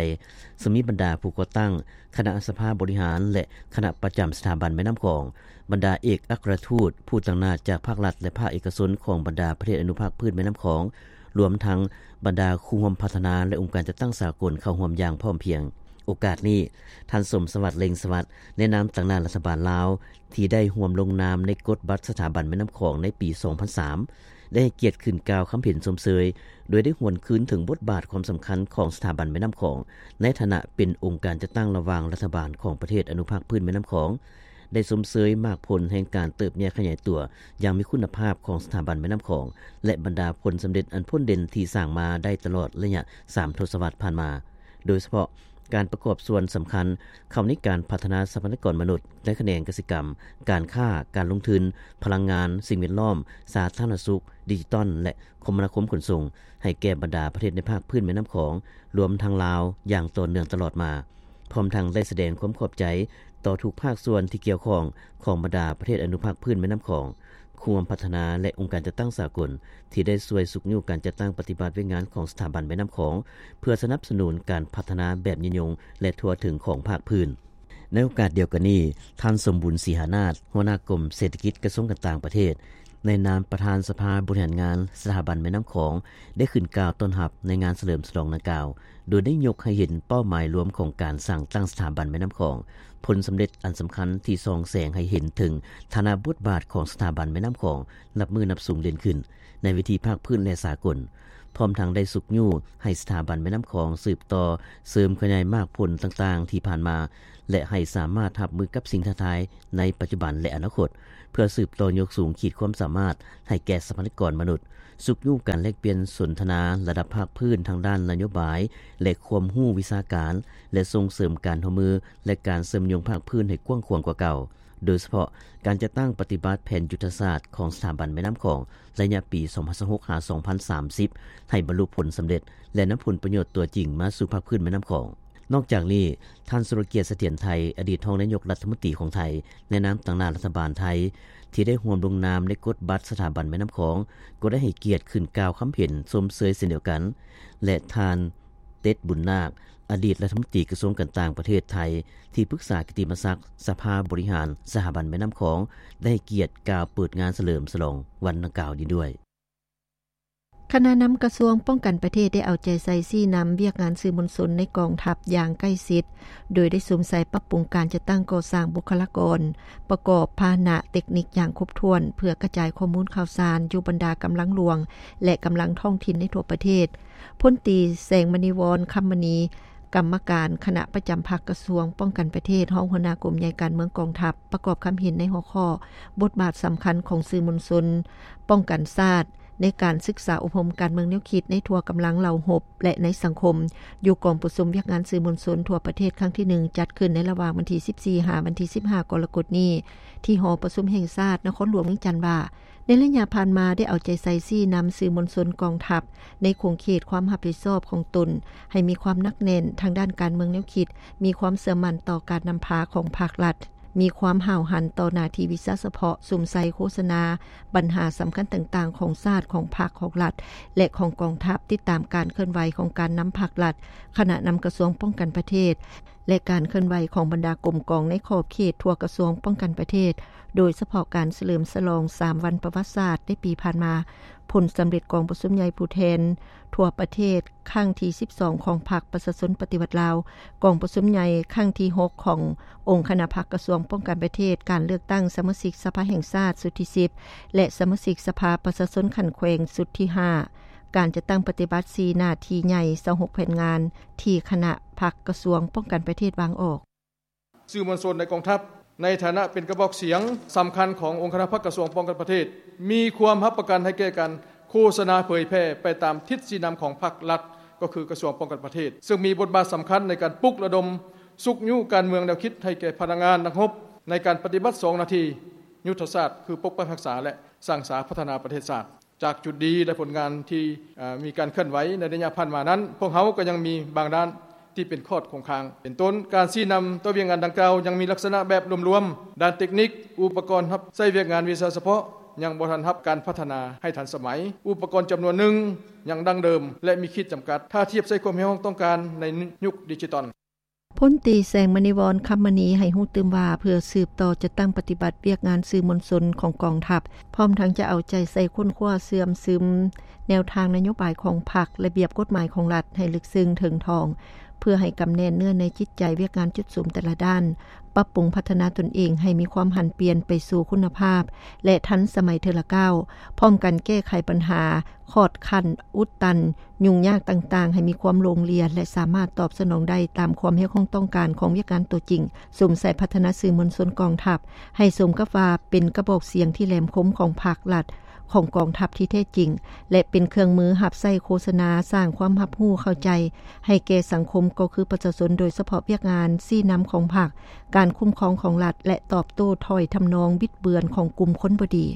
ເຊິ່ງມີບັນດາຜູ້ກໍ່ຕັ້ງ, ຄະນະສະພາບໍລິຫານ ແລະ ຄະນະປະຈຳສະຖາບັນແມ່ນ້ຳຂອງ, ບັນດາເອກອັກຄະລັດທູດ, ຜູ້ຕາງໜ້າຈາກພາກລັດ ແລະ ພາກເອກະຊົນຂອງບັນດາປະເທດອະນຸພາກພື້ນແມ່ນ້ຳຂອງ, ລວມທັງບັນດາຄູ່ຮ່ວມພັດທະນາ ແລະ ອົງການຈັດຕັ້ງສາກົນເຂົ້າຮ່ວມຢ່າງພ້ອມພຽງ. ໂອກາດນີ້, ທ່ານ ສົມສະຫວັດ ເລັ່ງສະຫວັດ ໃນນາມຕາງໜ້າລັດຖະບານລາວ ທີ່ໄດ້ຮ່ວມລົງນາມໃນກົດບັດສະຖາບັນແມ່ນ້ຳຂອງໃນປີສອງພັນສາມ ໄດ້ໃຫ້ກຽດຂຶ້ນກ່າວຄຳເຫັນຊົມເຊີຍ ໂດຍໄດ້ຫວນຄືນເຖິງບົດບາດຄວາມສຳຄັນຂອງສະຖາບັນແມ່ນ້ຳຂອງ ໃນຖານະເປັນອົງການຈັດຕັ້ງລະຫວ່າງລັດຖະບານຂອງປະເທດອະນຸພາກພື້ນແມ່ນ້ຳຂອງ, ໄດ້ຊົມເຊີຍໝາກຜົນແຫ່ງການເຕີບໃຫຍ່ຂະຫຍາຍຕົວຢ່າງມີຄຸນນະພາບຂອງສະຖາບັນແມ່ນ້ຳຂອງ ແລະ ບັນດາຜົນສຳເລັດອັນພົ້ນເດັ່ນທີ່ສ້າງມາໄດ້ຕະຫຼອດໄລຍະສາມທົດສະວັດຜ່ານມາ, ໂດຍສະເພາະ ການປະກອບສ່ວນສຳຄັນເຂົ້າໃນການພັດທະນາຊັບພະຍາກອນມະນຸດໃນຂະແໜງກະສິກຳ, ການຄ້າ, ການລົງທຶນ, ພະລັງງານ, ສິ່ງແວດລ້ອມ, ສາທາລະນະສຸກ, ດິຈິຕອນ ແລະ ຄົມມະນາຄົມຂົນສົ່ງ ໃຫ້ແກ່ບັນດາປະເທດໃນພາກພື້ນແມ່ນ້ຳຂອງ, ລວມທັງລາວ, ຢ່າງຕໍ່ເນື່ອງຕະຫຼອດມາ, ພ້ອມທັງໄດ້ສະແດງຄວາມຂອບໃຈຕໍ່ທຸກພາກສ່ວນທີ່ກ່ຽວຂ້ອງຂອງບັນດາປະເທດອະນຸພາກພື້ນແມ່ນ້ຳຂອງ, ຄູ່ຮ່ວມພັດທະນາ ແລະ ອົງການຈັດຕັ້ງສາກົນ ທີ່ໄດ້ຊ່ວຍຊຸກຍູ້ການຈັດຕັ້ງປະຕິບັດວຽກງານຂອງສະຖາບັນແມ່ນ້ຳຂອງ ເພື່ອສະໜັບສະໜູນການພັດທະນາແບບຍືນຍົງ ແລະ ທົ່ວເຖິງຂອງພາກພື້ນ. ໃນໂອກາດດຽວກັນນີ້, ທ່ານ ສົມບຸນ ສີຫານາດ, ຫົວໜ້າກົມເສດຖະກິດ ກະຊວງການຕ່າງປະເທດ, ໃນນາມປະທານສະພາບໍລິຫານງານສະຖາບັນແມ່ນ້ຳຂອງ ໄດ້ຂຶ້ນກ່າວຕ້ອນຮັບໃນງານສະເຫຼີມສະຫຼອງດັ່ງກ່າວ, ໂດຍໄດ້ຍົກໃຫ້ເຫັນເປົ້າໝາຍລວມຂອງການສ້າງຕັ້ງສະຖາບັນແມ່ນ້ຳຂອງ, ຜົນສຳເລັດອັນສຳຄັນທີ່ສ່ອງແສງໃຫ້ເຫັນເຖິງຖານະບົດບາດຂອງສະຖາບັນແມ່ນ້ຳຂອງນັບມື້ນັບສູງເດັ່ນຂຶ້ນໃນເວທີພາກພື້ນ ແລະ ສາກົນ, ພ້ອມທັງໄດ້ຊຸກຍູ້ໃຫ້ສະຖາບັນແມ່ນ້ຳຂອງສືບຕໍ່ເສີມຂະຫຍາຍໝາກຜົນຕ່າງໆທີ່ຜ່ານມາ ແລະ ໃຫ້ສາມາດຮັບມືກັບສິ່ງທ້າທາຍໃນປັດຈຸບັນ ແລະ ອະນາຄົດ ເພື່ອສືບຕໍ່ຍົກສູງຂີດຄວາມສາມາດໃຫ້ແກ່ຊັບພະຍາກອນມະນຸດ, ຊຸກຍູ້ການແລກປ່ຽນສົນທະນາລະດັບພາກພື້ນທາງດ້ານນະໂຍບາຍ ແລະ ຄວາມຮູ້ວິຊາການ ແລະ ສົ່ງເສີມການຮ່ວມມື ແລະ ການເຊື່ອມໂຍງພາກພື້ນໃຫ້ກວ້າງຂວາງກວ່າເກົ່າ, ໂດຍສະເພາະການຈັດຕັ້ງປະຕິບັດແຜນຍຸດທະສາດຂອງສະຖາບັນແມ່ນ້ຳຂອງ ໄລຍະປີສອງພັນຊາວຫົກ ຫາ ສອງພັນສາມສິບ ໃຫ້ບັນລຸຜົນສຳເລັດ ແລະ ນຳຜົນປະໂຫຍດຕົວຈິງມາສູ່ພາກພື້ນແມ່ນ້ຳຂອງ. ນອກຈາກນີ້, ທ່ານ ສຸລະກຽດ ສະຖຽນໄທ ອະດີດຮອງນາຍົກລັດຖະມົນຕີຂອງໄທ ໃນນາມຕາງໜ້າລັດຖະບານໄທ ທີ່ໄດ້ຮ່ວມລົງນາມໃນກົດບັດສະຖາບັນແມ່ນ້ຳຂອງ ກໍໄດ້ໃຫ້ກຽດຂຶ້ນກ່າວຄຳເຫັນຊົມເຊີຍເຊັ່ນດຽວກັນ ແລະ ທ່ານ ເຕັດ ບຸນນາກ ອະດີດລັດຖະມົນຕີກະຊວງການຕ່າງປະເທດໄທ ທີ່ປຶກສາກິດຕິມະສັກສະພາບໍລິຫານສະຖາບັນແມ່ນ້ຳຂອງ ໄດ້ໃຫ້ກຽດກ່າວເປີດງານສະເຫຼີມສະຫຼອງວັນດັ່ງກ່າວນີ້ດ້ວຍ. ຄະນະນຳກະຊວງປ້ອງກັນປະເທດໄດ້ເອົາໃຈໃສ່ຊີ້ນຳວຽກງານສື່ມວນຊົນໃນກອງທັບຢ່າງໃກ້ຊິດ, ໂດຍໄດ້ສຸມໃສ່ປັບປຸງການຈັດຕັ້ງກໍ່ສ້າງບຸກຄະລາກອນ, ປະກອບພາຫະນະເຕັກນິກຢ່າງຄົບຖ້ວນ ເພື່ອກະຈາຍຂໍ້ມູນຂ່າວສານຢູ່ບັນດາກຳລັງຫຼວງ ແລະ ກຳລັງທ້ອງຖິ່ນໃນທົ່ວປະເທດ. ພົນຕີ ແສງມະນີວອນ ຄຳມະນີ ກຳມະການຄະນະປະຈຳພັກກະຊວງປ້ອງກັນປະເທດ, ຮອງຫົວໜ້າກົມໃຫຍ່ການເມືອງກອງທັບ ປະກອບຄຳເຫັນໃນຫົວຂໍ້ ບົດບາດສຳຄັນຂອງສື່ມວນຊົນປ້ອງກັນຊາດ ໃນການສຶກສາອົບຮົມການເມືອງແນວຄິດໃນທົ່ວກຳລັງເຫຼົ່າຮົບ ແລະ ໃນສັງຄົມ ຢູ່ກອງປະຊຸມວຽກງານສື່ມວນຊົນທົ່ວປະເທດຄັ້ງທີໜຶ່ງ ຈັດຂຶ້ນໃນລະຫວ່າງວັນທີສິບສີ່ ຫາ ວັນທີສິບຫ້າ ກໍລະກົດນີ້ ທີ່ຫໍປະຊຸມແຫ່ງຊາດ ນະຄອນຫຼວງວຽງຈັນວ່າ, ໃນໄລຍະຜ່ານມາໄດ້ເອົາໃຈໃສ່ຊີ້ນຳສື່ມວນຊົນກອງທັບ ໃນຂົງເຂດຄວາມຮັບຜິດຊອບຂອງຕົນ ໃຫ້ມີຄວາມໜັກແໜ້ນທາງດ້ານການເມືອງແນວຄິດ, ມີຄວາມເຊື່ອໝັ້ນຕໍ່ການນຳພາຂອງພາກລັດ, ມີຄວາມຫ້າວຫັນຕໍ່ໜ້າທີ່ວິຊາສະເພາະ, ສຸມໃສ່ໂຄສະນາບັນຫາສຳຄັນຕ່າງໆຂອງຊາດ, ຂອງພັກ, ຂອງລັດ ແລະ ຂອງກອງທັບ, ຕິດຕາມການເຄື່ອນໄຫວຂອງການນຳພັກລັດ, ຄະນະນຳກະຊວງປ້ອງກັນປະເທດ ແລະ ການເຄື່ອນໄຫວຂອງບັນດາກົມກອງໃນຂອບເຂດທົ່ວກະຊວງປ້ອງກັນປະເທດ, ໂດຍສະເພາະການສະເຫຼີມສະຫຼອງສາມວັນປະຫວັດສາດໃນປີຜ່ານມາ, ຜົນສຳເລັດກອງປະຊຸມໃຫຍ່ຜູ້ແທນທົ່ວປະເທດຄັ້ງທີສິບສອງຂອງພັກປະຊາຊົນປະຕິວັດລາວ, ກອງປະຊຸມໃຫຍ່ຄັ້ງທີຫົກຂອງອົງຄະນະພັກກະຊວງປ້ອງກັນປະເທດ, ການເລືອກຕັ້ງສະມາຊິກສະພາແຫ່ງຊາດຊຸດທີສິບ ແລະ ສະມາຊິກສະພາປະຊາຊົນຂັ້ນແຂວງຊຸດທີຫ້າ, ການຈັດຕັ້ງປະຕິບັດສີ່ໜ້າທີ່ໃຫຍ່ ຊາວຫົກແຜນງານ ທີ່ຄະນະພັກກະຊວງປ້ອງກັນປະເທດວາງອອກ. ສື່ມວນຊົນໃນກອງທັບ ໃນຖານະເປັນກະບອກສຽງສຳຄັນຂອງອົງຄະນະພັກກະຊວງປ້ອງກັນປະເທດ ມີຄວາມຮັບປະກັນໃຫ້ແກ່ການໂຄສະນາເຜີຍແຜ່ໄປຕາມທິດຊີ້ນຳຂອງພັກລັດ ກໍຄືກະຊວງປ້ອງກັນປະເທດ, ເຊິ່ງມີບົດບາດສຳຄັນໃນການປຸກລະດົມຊຸກຍູ້ການເມືອງແນວຄິດໃຫ້ແກ່ພະນັກງານນັກຮົບ ໃນການປະຕິບັດສອງໜ້າທີ່ຍຸດທະສາດ ຄືປົກປັກຮັກສາ ແລະ ສ້າງສາພັດທະນາປະເທດຊາດ. ຈາກຈຸດດີ ແລະ ຜົນງານທີ່ ເອີ ມີການເຄື່ອນໄຫວໃນໄລຍະຜ່ານມານັ້ນ, ພວກເຮົາກໍຍັງມີບາງດ້ານທີ່ເປັນຂອດຄົງຄ້າງ. ເປັນຕົ້ນ, ການຊີ້ນຳຕໍ່ວຽກງານດັ່ງກ່າວຍັງມີລັກສະນະແບບລວມໆ, ດ້ານເຕັກນິກ, ອຸປະກອນຮັບໃຊ້ວຽກງານວິຊາສະເພາະຍັງບໍ່ທັນຮັບການພັດທະນາໃຫ້ທັນສະໄໝ, ອຸປະກອນຈຳນວນໜຶ່ງຍັງດັ້ງເດີມ ແລະ ມີຂີດຈຳກັດ ຖ້າທຽບໃສ່ຄວາມຮຽກຮ້ອງຕ້ອງການໃນຍຸກດິຈິຕອນ. ພົນຕີ ແສງມະນີວອນ ຄຳມະນີ ໃຫ້ຮູ້ຕື່ມວ່າ ເພື່ອສືບຕໍ່ຈັດຕັ້ງປະຕິບັດວຽກງານສື່ມວນຊົນຂອງກອງທັບ, ພ້ອມທັງຈະເອົາໃຈໃສ່ຄົ້ນຄວ້າເຊື່ອມຊຶມແນວທາງນະໂຍບາຍຂອງພັກ, ລະບຽບກົດໝາຍຂອງລັດໃຫ້ເລິກເຊິ່ງເຖິງຖອງ, ເພື່ອໃຫ້ກຳແໜ້ນເນື້ອໃນຈິດໃຈວຽກງານຈຸດສຸມແຕ່ລະດ້ານ, ປັບປຸງພັດທະນາຕົນເອງໃຫ້ມີຄວາມຫັນປ່ຽນໄປສູ່ຄຸນນະພາບ ແລະ ທັນສະໄໝເທື່ອລະກ້າວ, ພ້ອມກັນແກ້ໄຂບັນຫາ ຂອດຂັ້ນ, ອຸດຕັນ, ຫຍຸ້ງຍາກຕ່າງໆ ໃຫ້ມີຄວາມໂລ່ງລຽນ ແລະ ສາມາດຕອບສະໜອງໄດ້ຕາມຄວາມຮຽກຮ້ອງຕ້ອງການຂອງວຽກງານຕົວຈິງ, ສຸມໃສ່ພັດທະນາສື່ມວນຊົນກອງທັບ ໃຫ້ສົມກັບວ່າເປັນກະບອກສຽງທີ່ແຫຼມຄົມຂອງພັກລັດ, ຂອງກອງທັບທີ່ແທ້ຈິງ ແລະ ເປັນເຄື່ອງມືຮັບໃຊ້ໂຄສະນາ, ສ້າງຄວາມຮັບຮູ້ເຂົ້າໃຈໃຫ້ແກ່ສັງຄົມ ກໍຄືປະຊາຊົນ, ໂດຍສະເພາະວຽກງານຊີ້ນຳຂອງພັກ, ການຄຸ້ມຄອງຂອງລັດ ແລະ ຕອບໂຕ້ຖ້ອຍທຳນອງບິດເບືອນຂອງກຸ່ມຄົນບໍ່ດີ.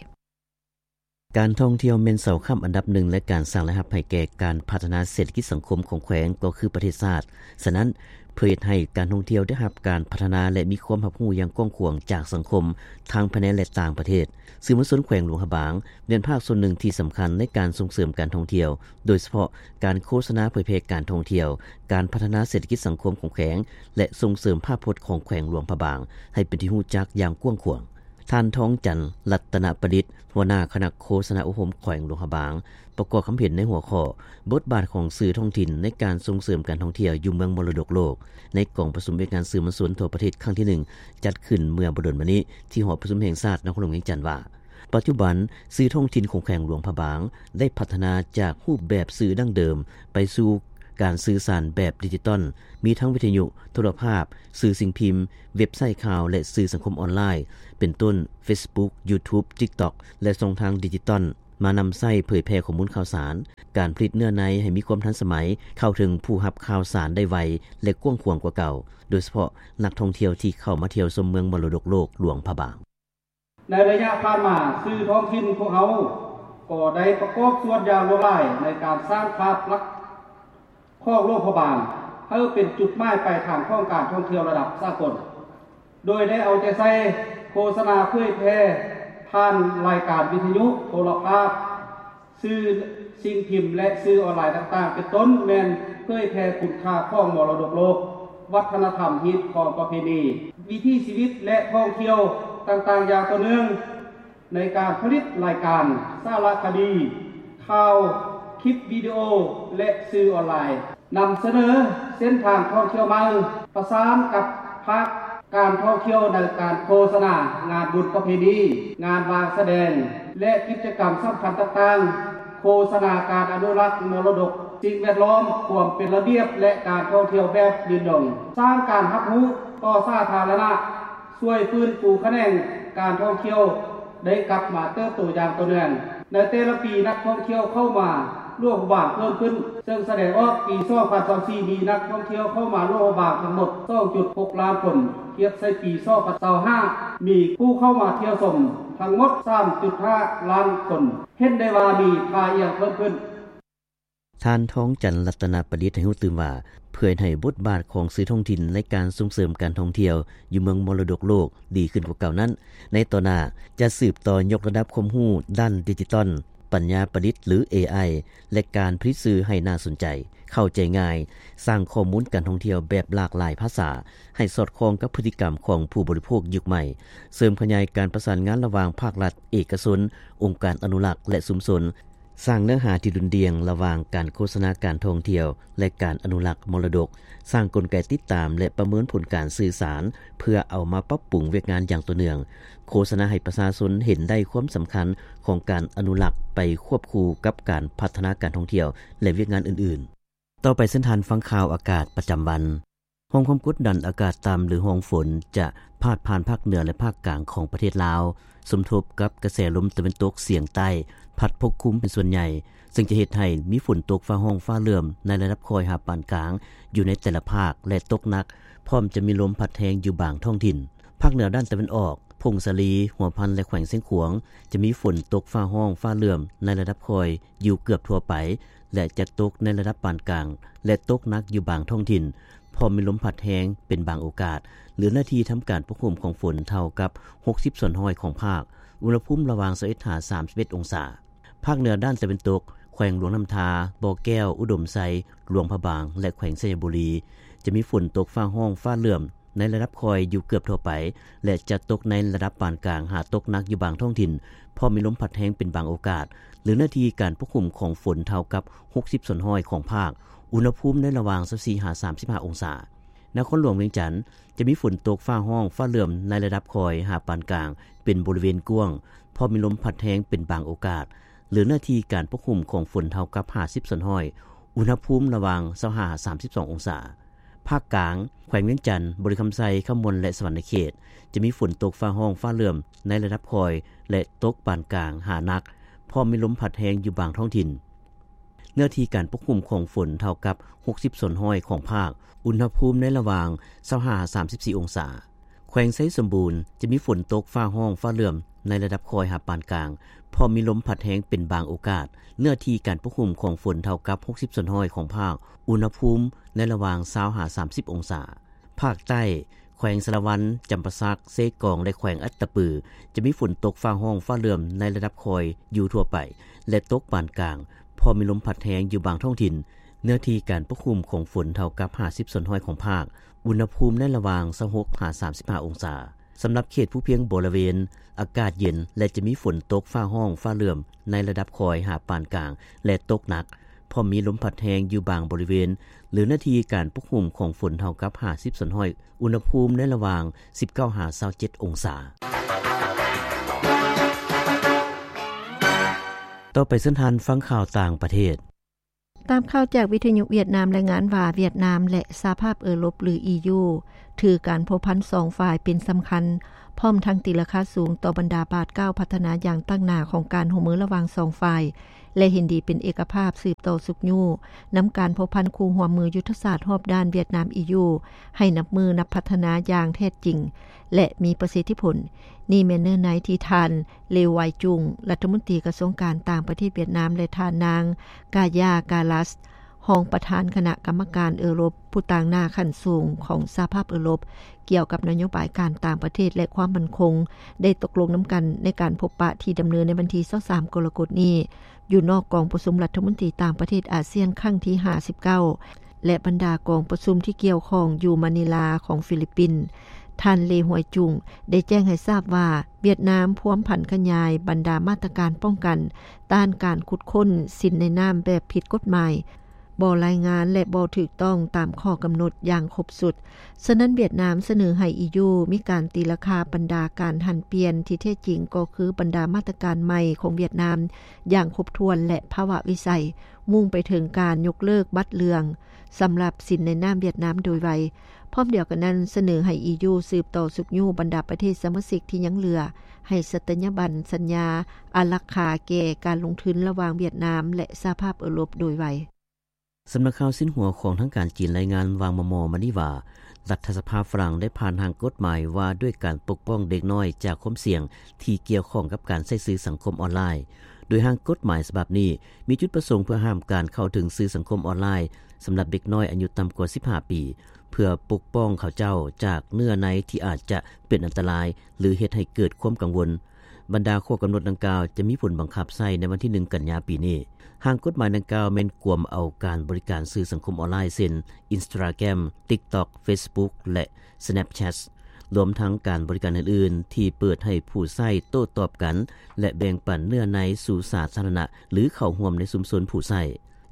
ການທ່ອງທ່ຽວແມ່ນເສົາຄ້ຳອັນດັບໜຶ່ງໃນການສ້າງລາຍຮັບໃຫ້ແກ່ການພັດທະນາເສດຖະກິດສັງຄົມຂອງແຂວງ ກໍຄືປະເທດຊາດ. ສະນັ້ນ, ເພື່ອເຮັດໃຫ້ການທ່ອງທ່ຽວໄດ້ຮັບການພັດທະນາ ແລະ ມີຄວາມຮັບຮູ້ຢ່າງກວ້າງຂວາງຈາກສັງຄົມ ທັງພາຍໃນ ແລະ ຕ່າງປະເທດ, ສື່ມວນຊົນແຂວງຫຼວງພະບາງ ແມ່ນພາກສ່ວນໜຶ່ງທີ່ສຳຄັນໃນການສົ່ງເສີມການທ່ອງທ່ຽວ, ໂດຍສະເພາະການໂຄສະນາເຜີຍແຜ່ການທ່ອງທ່ຽວ, ການພັດທະນາເສດຖະກິດສັງຄົມຂອງແຂວງ ແລະ ສົ່ງເສີມພາບພົດຂອງແຂວງຫຼວງພະບາງ ໃຫ້ເປັນທີ່ຮູ້ຈັກຢ່າງກວ້າງຂວາງ. ທ່ານ ທອງຈັນ ລັດຕະນະປະດິດ ຫົວໜ້າຄະນະໂຄສະນາອົບຮົມແຂວງຫຼວງພະບາງ ປະກອບຄຳເຫັນໃນຫົວຂໍ້ ບົດບາດຂອງສື່ທ້ອງຖິ່ນໃນການສົ່ງເສີມການທ່ອງທ່ຽວຢູ່ເມືອງມໍລະດົກໂລກ ໃນກອງປະຊຸມວຽກງານສື່ມວນຊົນທົ່ວປະເທດຄັ້ງທີໜຶ່ງ ຈັດຂຶ້ນເມື່ອບໍ່ດົນມານີ້ ທີ່ຫໍປະຊຸມແຫ່ງຊາດນະຄອນຫຼວງວຽງຈັນວ່າ ປັດຈຸບັນ ສື່ທ້ອງຖິ່ນຂອງແຂວງຫຼວງພະບາງ ໄດ້ພັດທະນາຈາກຮູບແບບສື່ດັ້ງເດີມ ໄປສູ່ການສື່ສານແບບດິຈິຕອນ, ມີທັງວິທະຍຸ, ໂທລະພາບ, ສື່ສິ່ງພິມ, ເວັບໄຊຂ່າວ ແລະ ສື່ສັງຄົມອອນລາຍ ເປັນຕົ້ນ ເຟສບຸກ, ຢູທູບ, ຕິກຕັອກ ແລະ ຊ່ອງທາງດິຈິຕອນ ມານຳໃຊ້ເຜີຍແຜ່ຂໍ້ມູນຂ່າວສານ, ການຜະລິດເນື້ອໃນໃຫ້ມີຄວາມທັນສະໄໝ, ເຂົ້າເຖິງຜູ້ຮັບຂ່າວສານໄດ້ໄວ ແລະ ກວ້າງຂວາງກວ່າເກົ່າ, ໂດຍສະເພາະນັກທ່ອງທ່ຽວທີ່ເຂົ້າມາທ່ຽວຊົມເມືອງມໍລະດົກໂລກຫຼວງພະບາງ. ໃນໄລຍະຜ່ານມາ, ສື່ທ້ອງຖິ່ນພວກເຮົາກໍໄດ້ປະກອບສ່ວນຢ່າງຫຼວງຫຼາຍໃນການສ້າງພາບລັກຂອງຫຼວງພະບາງ ໃຫ້ເປັນຈຸດໝາຍປາຍທາງຂອງການທ່ອງທ່ຽວລະດັບສາກົນ, ໂດຍໄດ້ເອົາໃຈໃສ່ໂຄສະນາເຜີຍແຜ່ຜ່ານລາຍການວິທະຍຸ, ໂທລະພາບ, ສື່ສິ່ງພິມ ແລະ ສື່ອອນລາຍຕ່າງໆ ເປັນຕົ້ນແມ່ນເຜີຍແຜ່ຄຸນຄ່າຂອງມໍລະດົກໂລກ, ວັດທະນະທຳ, ຮີດຄອງປະເພນີ, ວິຖີຊີວິດ ແລະ ທ່ອງທ່ຽວຕ່າງໆ ຢ່າງຕໍ່ເນື່ອງ ໃນການຜະລິດລາຍການ, ສາລະຄະດີ, ຂ່າວ, ຄລິບວິດີໂອ ແລະ ສື່ອອນລາຍ. ນຳສະເໜີເສັ້ນທາງທ່ອງທ່ຽວໃໝ່, ປະສານກັບພາກການທ່ອງທ່ຽວໃນການໂຄສະນາ, ງານບຸນປະເພນີ, ງານວາງສະແດງ ແລະ ກິດຈະກຳສຳຄັນຕ່າງໆ, ໂຄສະນາການອະນຸລັກມໍລະດົກສິ່ງແວດລ້ອມ, ຄວາມເປັນລະບຽບ ແລະ ການທ່ອງທ່ຽວແບບຢືນດົງ, ສ້າງການຮັບຮູ້ຕໍ່ສາທາລະນະ, ຊ່ວຍຟື້ນຟູຂະແໜງການທ່ອງທ່ຽວ ໄດ້ກັບມາເຕີບໂຕຢ່າງຕໍ່ເນື່ອງ. ໃນແຕ່ລະປີ, ນັກທ່ອງທ່ຽວເຂົ້າມາຫຼວງພະບາງເພີ່ມຂຶ້ນ, ເຊິ່ງສະແດງອອກ ປີສອງພັນຊາວສີ່ ມີນັກທ່ອງທ່ຽວເຂົ້າມາຫຼວງພະບາງທັງໝົດ ສອງຈຸດຫົກລ້ານຄົນ, ທຽບໃສ່ປີສອງພັນຊາວຫ້າ ມີຜູ້ເຂົ້າມາທ່ຽວຊົມທັງໝົດ ສາມຈຸດຫ້າລ້ານຄົນ, ເຫັນໄດ້ວ່າມີທ່າອ່ຽງເພີ່ມຂຶ້ນ. ທ່ານ ທອງຈັນ ລັດຕະນະປະດິດ ໃຫ້ຮູ້ຕື່ມວ່າ ເພື່ອເຮັດໃຫ້ບົດບາດຂອງສື່ທ້ອງຖິ່ນໃນການສົ່ງເສີມການທ່ອງທ່ຽວຢູ່ເມືອງມໍລະດົກໂລກດີຂຶ້ນກວ່າເກົ່ານັ້ນ, ໃນຕໍ່ໜ້າຈະສືບຕໍ່ຍົກລະດັບຄວາມຮູ້ດ້ານດິຈິຕອນ, ປັນຍາປະດິດ ຫຼື ເອໄອ ແລະ ການຜະລິດສື່ໃຫ້ໜ້າສົນໃຈ, ເຂົ້າໃຈງ່າຍ, ສ້າງຂໍ້ມູນການທ່ອງທ່ຽວແບບຫຼາກຫຼາຍພາສາ ໃຫ້ສອດຄ່ອງກັບພຶດຕິກຳຂອງຜູ້ບໍລິໂພກຍຸກໃໝ່, ເສີມຂະຫຍາຍການປະສານງານລະຫວ່າງພາກລັດ, ເອກະຊົນ, ອົງການອະນຸລັກ ແລະ ຊຸມຊົນ, ສ້າງເນື້ອຫາທີ່ດຸ່ນດ່ຽງລະຫວ່າງການໂຄສະນາການທ່ອງທ່ຽວ ແລະ ການອະນຸລັກມໍລະດົກ, ສ້າງກົນໄກຕິດຕາມ ແລະ ປະເມີນຜົນການສື່ສານ ເພື່ອເອົາມາປັບປຸງວຽກງານຢ່າງຕໍ່ເນື່ອງ, ໂຄສະນາໃຫ້ປະຊາຊົນເຫັນໄດ້ຄວາມສຳຄັນຂອງການອະນຸລັກໄປຄວບຄູ່ກັບການພັດທະນາການທ່ອງທ່ຽວ ແລະ ວຽກງານອື່ນໆ. ຕໍ່ໄປເຊີນທ່ານຟັງຂ່າວອາກາດປະຈຳວັນ. ຮ່ອງຄວາມກົດດັນອາກາດຕ່ຳ ຫຼື ຮ່ອງຝົນ ຈະພາດຜ່ານພາກເໜືອ ແລະ ພາກກາງຂອງປະເທດລາວ, ສົມທົບກັບກະແສລົມຕາເວັນຕົກສຽງໃຕ້ ພັດປົກຄຸມເປັນສ່ວນໃຫຍ່, ເຊິ່ງຈະເຮັດໃຫ້ມີຝົນຕົກຟ້າຮ້ອງຟ້າເຫຼື້ອມໃນລະດັບຄ່ອຍຫາປານກາງຢູ່ໃນແຕ່ລະພາກ ແລະ ຕົກໜັກ, ພ້ອມຈະມີລົມພັດແຮງຢູ່ບາງທ້ອງຖິ່ນ. ພາກເໜືອດ້ານຕາເວັນອອກ, ຜົ້ງສາລີ, ຫົວພັນ ແລະ ແຂວງຊຽງຂວາງ ຈະມີຝົນຕົກຟ້າຮ້ອງຟ້າເຫຼື້ອມໃນລະດັບຄ່ອຍຢູ່ເກືອບທົ່ວໄປ ແລະ ຈະຕົກໃນລະດັບປານກາງ ແລະ ຕົກໜັກຢູ່ບາງທ້ອງຖິ່ນ, ພ້ອມມີລົມພັດແຮງເປັນບາງໂອກາດ, ຫຼື ເນື້ອທີ່ທຳການປົກຄຸມຂອງຝົນເທົ່າກັບຫົກສິບສ່ວນຮ້ອຍຂອງພາກ, ອຸນຫະພູມລະຫວ່າງຊາວເອັດຫາສາມສິບເອັດອົງສາ. ພາກເໜືອດ້ານຕາເວັນຕົກ, ແຂວງຫຼວງນ້ຳທາ, ບໍ່ແກ້ວ, ອຸດົມໄຊ, ຫຼວງພະບາງ ແລະ ແຂວງໄຊຍະບູລີ ຈະມີຝົນຕົກຟ້າຮ້ອງຟ້າເຫຼື້ອມ ໃນລະດັບຄ່ອຍຢູ່ເກືອບທົ່ວໄປ ແລະ ຈະຕົກໃນລະດັບປານກາງຫາຕົກໜັກຢູ່ບາງທ້ອງຖິ່ນ, ພ້ອມມີລົມພັດແຮງເປັນບາງໂອກາດ, ຫຼື ເນື້ອທີ່ການປົກຄຸມຂອງຝົນເທົ່າກັບຫົກສິບສ່ວນຮ້ອຍຂອງພາກ, ອຸນຫະພູມໃນລະຫວ່າງຊາວສີ່ຫາສາມສິບຫ້າອົງສາ. ນະຄອນຫຼວງວຽງຈັນ ຈະມີຝົນຕົກຟ້າຮ້ອງຟ້າເຫຼື້ອມໃນລະດັບຄ່ອຍຫາປານກາງເປັນບໍລິເວນກວ້າງ, ພ້ອມມີລົມພັດແຮງເປັນບາງໂອກາດ, ຫຼື ເນື້ອທີ່ການປົກຄຸມຂອງຝົນເທົ່າກັບຫ້າສິບສ່ວນຮ້ອຍ, ອຸນຫະພູມລະຫວ່າງຊາວຫ້າຫາສາມສິບສອງອົງສາ. ພາກກາງ, ແຂວງວຽງຈັນ, ບໍລິຄຳໄຊ, ຄຳມ່ວນ ແລະ ສະຫວັນນະເຂດ ຈະມີຝົນຕົກຟ້າຮ້ອງຟ້າເຫຼື້ອມໃນລະດັບຄ່ອຍ ແລະ ຕົກປານກາງຫາໜັກ, ພ້ອມມີລົມພັດແຮງຢູ່ບາງທ້ອງຖິ່ນ. ເນື້ອທີ່ການປົກຄຸມຂອງຝົນເທົ່າກັບຫົກສິບສ່ວນຮ້ອຍຂອງພາກ, ອຸນຫະພູມໃນລະຫວ່າງຊາວຫ້າຫາສາມສິບສີ່ອົງສາ. ແຂວງໄຊສົມບູນ ຈະມີຝົນຕົກຟ້າຮ້ອງຟ້າເຫຼື້ອມໃນລະດັບຄ່ອຍຫາປານກາງ, ພ້ອມມີລົມພັດແຮງເປັນບາງໂອກາດ, ເນື້ອທີ່ການປົກຄຸມຂອງຝົນເທົ່າກັບຫົກສິບສ່ວນຮ້ອຍຂອງພາກ, ອຸນຫະພູມໃນລະຫວ່າງຊາວຫາສາມສິບອົງສາ. ພາກໃຕ້, ແຂວງສາລະວັນ, ຈຳປາສັກ, ເຊກອງ ແລະ ແຂວງອັດຕະປື ຈະມີຝົນຕົກຟ້າຮ້ອງຟ້າເຫຼື້ອມໃນລະດັບຄ່ອຍຢູ່ທົ່ວໄປ ແລະ ຕົກປານກາງ, ພ້ອມມີລົມພັດແຮງຢູ່ບາງທ້ອງຖິ່ນ, ເນື້ອທີ່ການປົກຄຸມຂອງຝົນເທົ່າກັບຫ້າສິບສ່ວນຮ້ອຍຂອງພາກ, ອຸນຫະພູມໃນລະຫວ່າງຊາວຫົກຫາສາມສິບຫ້າອົງສາ. ສຳລັບເຂດພູພຽງບໍລິເວນ ອາກາດເຢັນ ແລະ ຈະມີຝົນຕົກຟ້າຮ້ອງຟ້າເຫຼື້ອມ ໃນລະດັບຄ່ອຍຫາປານກາງ ແລະ ຕົກໜັກ, ພ້ອມມີລົມພັດແຮງຢູ່ບາງບໍລິເວນ ຫຼື ໜ້າທີ່ການປົກຄຸມຂອງຝົນເທົ່າກັບຫ້າສິບສ່ວນຮ້ອຍ, ອຸນຫະພູມໃນລະຫວ່າງສິບເກົ້າຫາຊາວເຈັດອົງສາ. ຕໍ່ໄປເຊີນທ່ານຟັງຂ່າວຕ່າງປະເທດ. ຕາມຂ່າວຈາກວິທະຍຸຫວຽດນາມລາຍງານວ່າ ຫວຽດນາມ ແລະ ສະຫະພາບເອີຣົບ ຫຼື ອີຢູ ຖືການພົວພັນສອງຝ່າຍເປັນສຳຄັນ, ພ້ອມທັງຕີລາຄາສູງຕໍ່ບັນດາບາດກ້າວພັດທະນາຢ່າງຕັ້ງໜ້າຂອງການຮ່ວມມືລະຫວ່າງສອງຝ່າຍ ແລະ ເຫັນດີເປັນເອກະພາບສືບຕໍ່ຊຸກຍູ້ນຳການພົວພັນຄູ່ຮ່ວມມືຍຸດທະສາດຮອບດ້ານຫວຽດນາມ ອີຢູ ໃຫ້ນັບມື້ນັບພັດທະນາຢ່າງແທ້ຈິງ ແລະ ມີປະສິດທິຜົນ. ນີ້ແມ່ນເນື້ອໃນທີ່ທ່ານ ເລວາຍຈຸງ ລັດຖະມົນຕີກະຊວງການຕ່າງປະເທດຫວຽດນາມ ແລະ ທ່ານນາງ ກາຢາ ກາລັດ ຮອງປະທານຄະນະກຳມະການເອີຣົບ ຜູ້ຕາງໜ້າຂັ້ນສູງຂອງສະຫະພາບເອີຣົບ ກ່ຽວກັບນະໂຍບາຍການຕ່າງປະເທດ ແລະ ຄວາມໝັ້ນຄົງ ໄດ້ຕົກລົງນຳກັນໃນການພົບປະທີ່ດຳເນີນໃນວັນທີຊາວສາມ ກໍລະກົດນີ້ ຢູ່ນອກກອງປະຊຸມລັດຖະມົນຕີຕ່າງປະເທດອາຊຽນຄັ້ງທີຫ້າສິບເກົ້າ ແລະ ບັນດາກອງປະຊຸມທີ່ກ່ຽວຂ້ອງຢູ່ມານີລາຂອງຟີລິບປິນ. ທ່ານ ເລ ຮວຍຈຸງ ໄດ້ແຈ້ງໃຫ້ຊາບວ່າ ຫວຽດນາມພວມຜັນຂະຫຍາຍບັນດາມາດຕະການປ້ອງກັນຕ້ານການຂຸດຄົ້ນສິນໃນນ້ຳແບບຜິດກົດໝາຍ, ບໍ່ລາຍງານ ແລະ ບໍ່ຖືກຕ້ອງຕາມຂໍ້ກຳນົດຢ່າງຄົບຊຸດ. ສະນັ້ນ ຫວຽດນາມສະເໜີໃຫ້ ອີຢູ ມີການຕີລາຄາບັນດາການຫັນປ່ຽນທີ່ແທ້ຈິງ ກໍຄືບັນດາມາດຕະການໃໝ່ຂອງຫວຽດນາມຢ່າງຄົບຖ້ວນ ແລະ ພາວະວິໄສ ມຸ່ງໄປເຖິງການຍົກເລີກບັດເຫຼືອງສຳລັບສິນໃນນ້ຳຫວຽດນາມໂດຍໄວ. ພ້ອມດຽວກັນນັ້ນ ສະເໜີໃຫ້ ອີຢູ ສືບຕໍ່ຊຸກຍູ້ບັນດາປະເທດສະມາຊິກທີ່ຍັງເຫຼືອ ໃຫ້ສັດຕະຍາບັນສັນຍາອາລັກຂາແກ່ການລົງທຶນລະຫວ່າງຫວຽດນາມ ແລະ ສະຫະພາບເອີຣົບໂດຍໄວ. ສຳນັກຂ່າວຊິນຫົວຂອງທາງການຈີນລາຍງານວ່າງມໍ່ໆມານີ້ວ່າ ລັດຖະສະພາຝຣັ່ງໄດ້ຜ່ານຮ່າງກົດໝາຍວ່າດ້ວຍການປົກປ້ອງເດັກນ້ອຍຈາກຄວາມສ່ຽງທີ່ກ່ຽວຂ້ອງກັບການໃຊ້ສື່ສັງຄົມອອນລາຍ. ໂດຍຮ່າງກົດໝາຍສະບັບນີ້ມີຈຸດປະສົງເພື່ອຫ້າມການເຂົ້າເຖິງສື່ສັງຄົມອອນລາຍສຳລັບເດັກນ້ອຍອາຍຸຕ່ຳກວ່າສິບຫ້າປີ ເພື່ອປົກປ້ອງເຂົາເຈົ້າຈາກເນື້ອໃນທີ່ອາດຈະເປັນອັນຕະລາຍ ຫຼື ເຮັດໃຫ້ເກີດຄວາມກັງວົນ. ບັນດາຂໍ້ກຳນົດດັ່ງກ່າວຈະມີຜົນບັງຄັບໃຊ້ໃນວັນທີໜຶ່ງ ກັນຍາປີນີ້. ຮ່າງກົດໝາຍດັ່ງກ່າວແມ່ນກວມເອົາການບໍລິການສື່ສັງຄົມອອນລາຍ ເຊັ່ນ Instagram, TikTok, Facebook ແລະ Snapchat ລວມທັງການບໍລິການອື່ນໆ ທີ່ເປີດໃຫ້ຜູ້ໃຊ້ໂຕ້ຕອບກັນ ແລະ ແບ່ງປັນເນື້ອໃນສູ່ສາທາລະນະ ຫຼື ເຂົ້າຮ່ວມໃນຊຸມຊົນຜູ້ໃຊ້.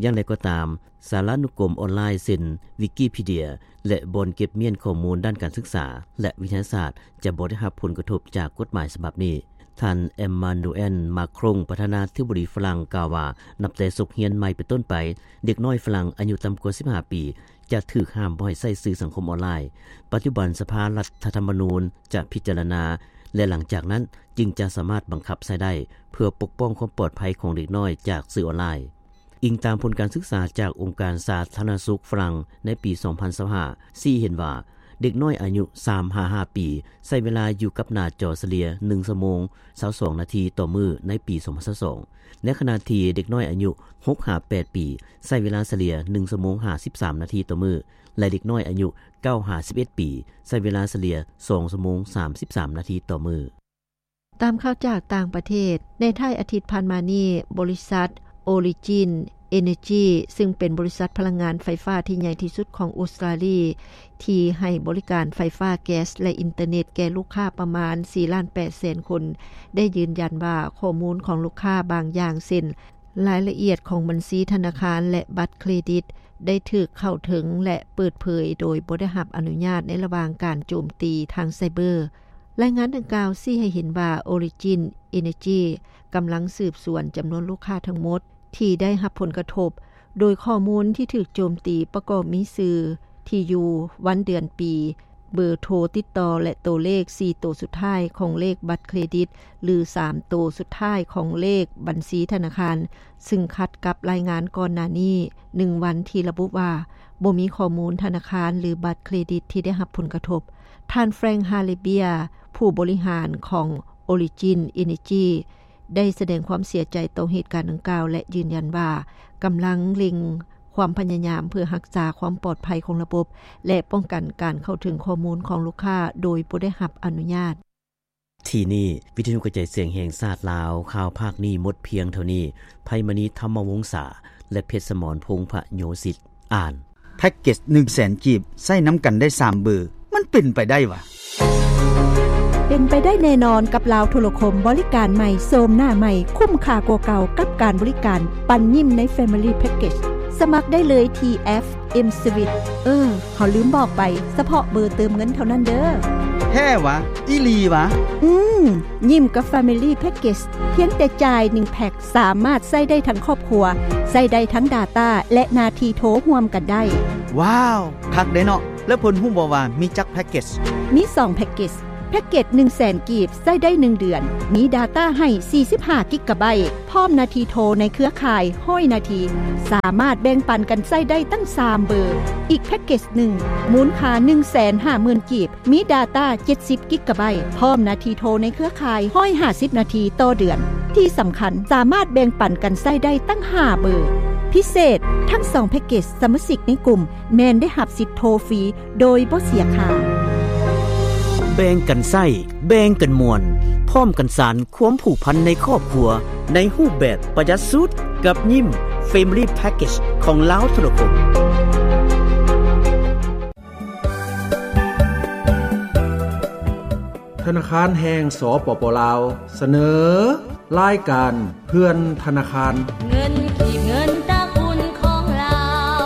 ຢ່າງໃດກໍຕາມ, ສາລານຸກົມອອນລາຍ ເຊັ່ນ Wikipedia ແລະ ບ່ອນເກັບມ້ຽນຂໍ້ມູນດ້ານການສຶກສາ ແລະ ວິທະຍາສາດ ຈະບໍ່ໄດ້ຮັບຜົນກະທົບຈາກກົດໝາຍສະບັບນີ້. ທ່ານ Emmanuel Macron ປະທານາທິບໍດີຝຣັ່ງ ກ່າວວ່າ ນັບແຕ່ສົກຮຽນໃໝ່ເປັນຕົ້ນໄປ, ເດັກນ້ອຍຝຣັ່ງອາຍຸຕ່ຳກວ່າສິບຫ້າປີ ຈະຖືກຫ້າມບໍ່ໃຫ້ໃຊ້ສື່ສັງຄົມອອນລາຍ. ປັດຈຸບັນສະພາລັດຖະທຳມະນູນຈະພິຈາລະນາ ແລະ ຫຼັງຈາກນັ້ນຈຶ່ງຈະສາມາດບັງຄັບໃຊ້ໄດ້ ເພື່ອປົກປ້ອງຄວາມປອດໄພຂອງເດັກນ້ອຍຈາກສື່ອອນລາຍ. ອີງຕາມຜົນການສຶກສາຈາກອົງການສາທາລະນະສຸກຝຣັ່ງໃນປີສອງພັນຊາວຫ້າ ຊີ້ເຫັນວ່າ ເດັກນ້ອຍອາຍຸສາມຫາຫ້າປີ ໃຊ້ເວລາຢູ່ກັບໜ້າຈໍສະເລ່ຍໜຶ່ງຊົ່ວໂມງຊາວສອງນາທີຕໍ່ມື້ໃນປີສອງພັນຊາວສອງ, ໃນຂະນະທີ່ເດັກນ້ອຍອາຍຸຫົກຫາແປດປີ ໃຊ້ເວລາສະເລ່ຍໜຶ່ງຊົ່ວໂມງຫ້າສິບສາມນາທີຕໍ່ມື້ ແລະ ເດັກນ້ອຍອາຍຸເກົ້າຫາສິບເອັດປີ ໃຊ້ເວລາສະເລ່ຍສອງຊົ່ວໂມງສາມສິບສາມນາທີຕໍ່ມື້. ຕາມຂ່າວຈາກຕ່າງປະເທດ, ໃນທ້າຍອາທິດຜ່ານມານີ້, ບໍລິສັດ Origin Energy ຊຶ່ງເປັນບໍລິສັດພະລັງງານໄຟຟ້າທີ່ໃຫຍ່ທີ່ສຸດຂອງອົດສະຕາລີ ທີ່ໃຫ້ບໍລິການໄຟຟ້າ, ແກັສ ແລະ ອິນເຕີເນັດແກ່ລູກຄ້າປະມານສີ່ລ້ານແປດແສນຄົນ ໄດ້ຢືນຢັນວ່າຂໍ້ມູນຂອງລູກຄ້າບາງຢ່າງ ເຊັ່ນ ລາຍລະອຽດຂອງບັນຊີທະນາຄານ ແລະ ບັດເຄຣດິດ ໄດ້ຖືກເຂົ້າເຖິງ ແລະ ເປີດເຜີຍໂດຍບໍ່ໄດ້ຮັບອະນຸຍາດໃນລະຫວ່າງການໂຈມຕີທາງໄຊເບີ. ລາຍງານດັ່ງກ່າວຊີ້ໃຫ້ເຫັນວ່າ Origin Energy ກຳລັງສືບສວນຈຳນວນລູກຄ້າທັງໝົດທີ່ໄດ້ຮັບຜົນກະທົບ, ໂດຍຂໍ້ມູນທີ່ຖືກໂຈມຕີປະກອບມີຊື່, ທີ່ຢູ່, ວັນເດືອນປີ, ເບີໂທຕິດຕໍ່ ແລະ ໂຕເລກສີ່ໂຕສຸດທ້າຍຂອງເລກບັດເຄຣດິດ ຫຼື ສາມໂຕສຸດທ້າຍຂອງເລກບັນຊີທະນາຄານ, ຊຶ່ງຂັດກັບລາຍງານກ່ອນໜ້ານີ້ໜຶ່ງວັນທີ່ລະບຸວ່າ ບໍ່ມີຂໍ້ມູນທະນາຄານ ຫຼື ບັດເຄຣດິດທີ່ໄດ້ຮັບຜົນກະທົບ. ທ່ານ Frank Harabia ຜູ້ບໍລິຫານຂອງ Origin Energy ໄດ້ສະແດງຄວາມເສຍໃຈຕໍ່ເຫດການດັ່ງກ່າວ ແລະ ຢືນຢັນວ່າກຳລັງເລັ່ງຄວາມພະຍາຍາມເພື່ອຮັກສາຄວາມປອດໄພຂອງລະບົບ ແລະ ປ້ອງກັນການເຂົ້າເຖິງຂໍ້ມູນຂອງລູກຄ້າໂດຍບໍ່ໄດ້ຮັບອະນຸຍາດ. ທີ່ນີ້ ວິທະຍຸກະຈາຍສຽງແຫ່ງຊາດລາວ, ຂ່າວພາກນີ້ໝົດພຽງເທົ່ານີ້. ໄພມະນີ ທຳມະວົງສາ ແລະ ເພັດສະໝອນ ພົງພະໂຍສິດ ອ່ານ. ແພັກເກັດໜຶ່ງແສນກີບ ໃຊ້ນຳກັນໄດ້ສາມເບີ ມັນເປັນໄປໄດ້ຫວາ? ເປັນໄປໄດ້ແນ່ນອນກັບລາວໂທລະຄົມ, ບໍລິການໃໝ່, ໂສມໜ້າໃໝ່, ຄຸ້ມຄ່າກວ່າເກົ່າກັບການບໍລິການ, ປັນຍິ້ມໃນ Family Package. ສະໝັກໄດ້ເລີຍທີ່ແອັບ M Sweet. ເອີ, ເຮົາລືມບອກໄປ, ສະເພາະເບີເຕີມເງິນເທົ່ານັ້ນເດີ້. ແທ້ຫວາ? ອີ່ຫຼີຫວາ? ອືມ, ຍິ້ມກັບ Family Package ພຽງແຕ່ຈ່າຍໜຶ່ງແພັກ ສາມາດໃຊ້ໄດ້ທັງຄອບຄົວ, ໃຊ້ໄດ້ທັງ data ແລະ ໜ້າທີ່ໂທຮ່ວມກັນໄດ້. ວ້າວ, ຄັກເດ້ເນາະ. ແລ້ວເພິ່ນຮູ້ບໍ່ວ່າມີຈັກແພັກເກັດ? ມີສອງແພັກເກັດ. ແພັກເກັດໜຶ່ງແສນກີບ ໃຊ້ໄດ້ໜຶ່ງເດືອນ, ມີ data ໃຫ້ສີ່ສິບຫ້າກິກກະໄບ, ພ້ອມນາທີໂທໃນເຄືອຂ່າຍຮ້ອຍນາທີ, ສາມາດແບ່ງປັນກັນໃຊ້ໄດ້ຕັ້ງສາມເບີ. ອີກແພັກເກັດໜຶ່ງ ມູນຄ່າໜຶ່ງແສນຫ້າໝື່ນກີບ, ມີ data ເຈັດສິບກິກກະໄບ, ພ້ອມນາທີໂທໃນເຄືອຂ່າຍຮ້ອຍຫ້າສິບນາທີຕໍ່ເດືອນ. ທີ່ສຳຄັນ, ສາມາດແບ່ງປັນກັນໃຊ້ໄດ້ຕັ້ງຫ້າເບີ. ພິເສດ, ທັງສອງແພັກເກັດ ສະມາຊິກໃນກຸ່ມແມ່ນໄດ້ຮັບສິດໂທຟຣີໂດຍບໍ່ເສຍຄ່າ. ແບ່ງກັນໃຊ້ ແບ່ງກັນມ່ວນ ພ້ອມກັນສານຄວາມຜູກພັນໃນຄອບຄົວ ໃນຮູບແບບປະຢັດສຸດ ກັບຍິ້ມ Family Package ຂອງລາວໂທລະຄົມ. ທະນາຄານແຫ່ງ ສປປ ລາວ ສະເໜີ ລາຍການເພື່ອນທະນາຄານ. ເງິນກີບ ເງິນຕະກຸນຂອງລາວ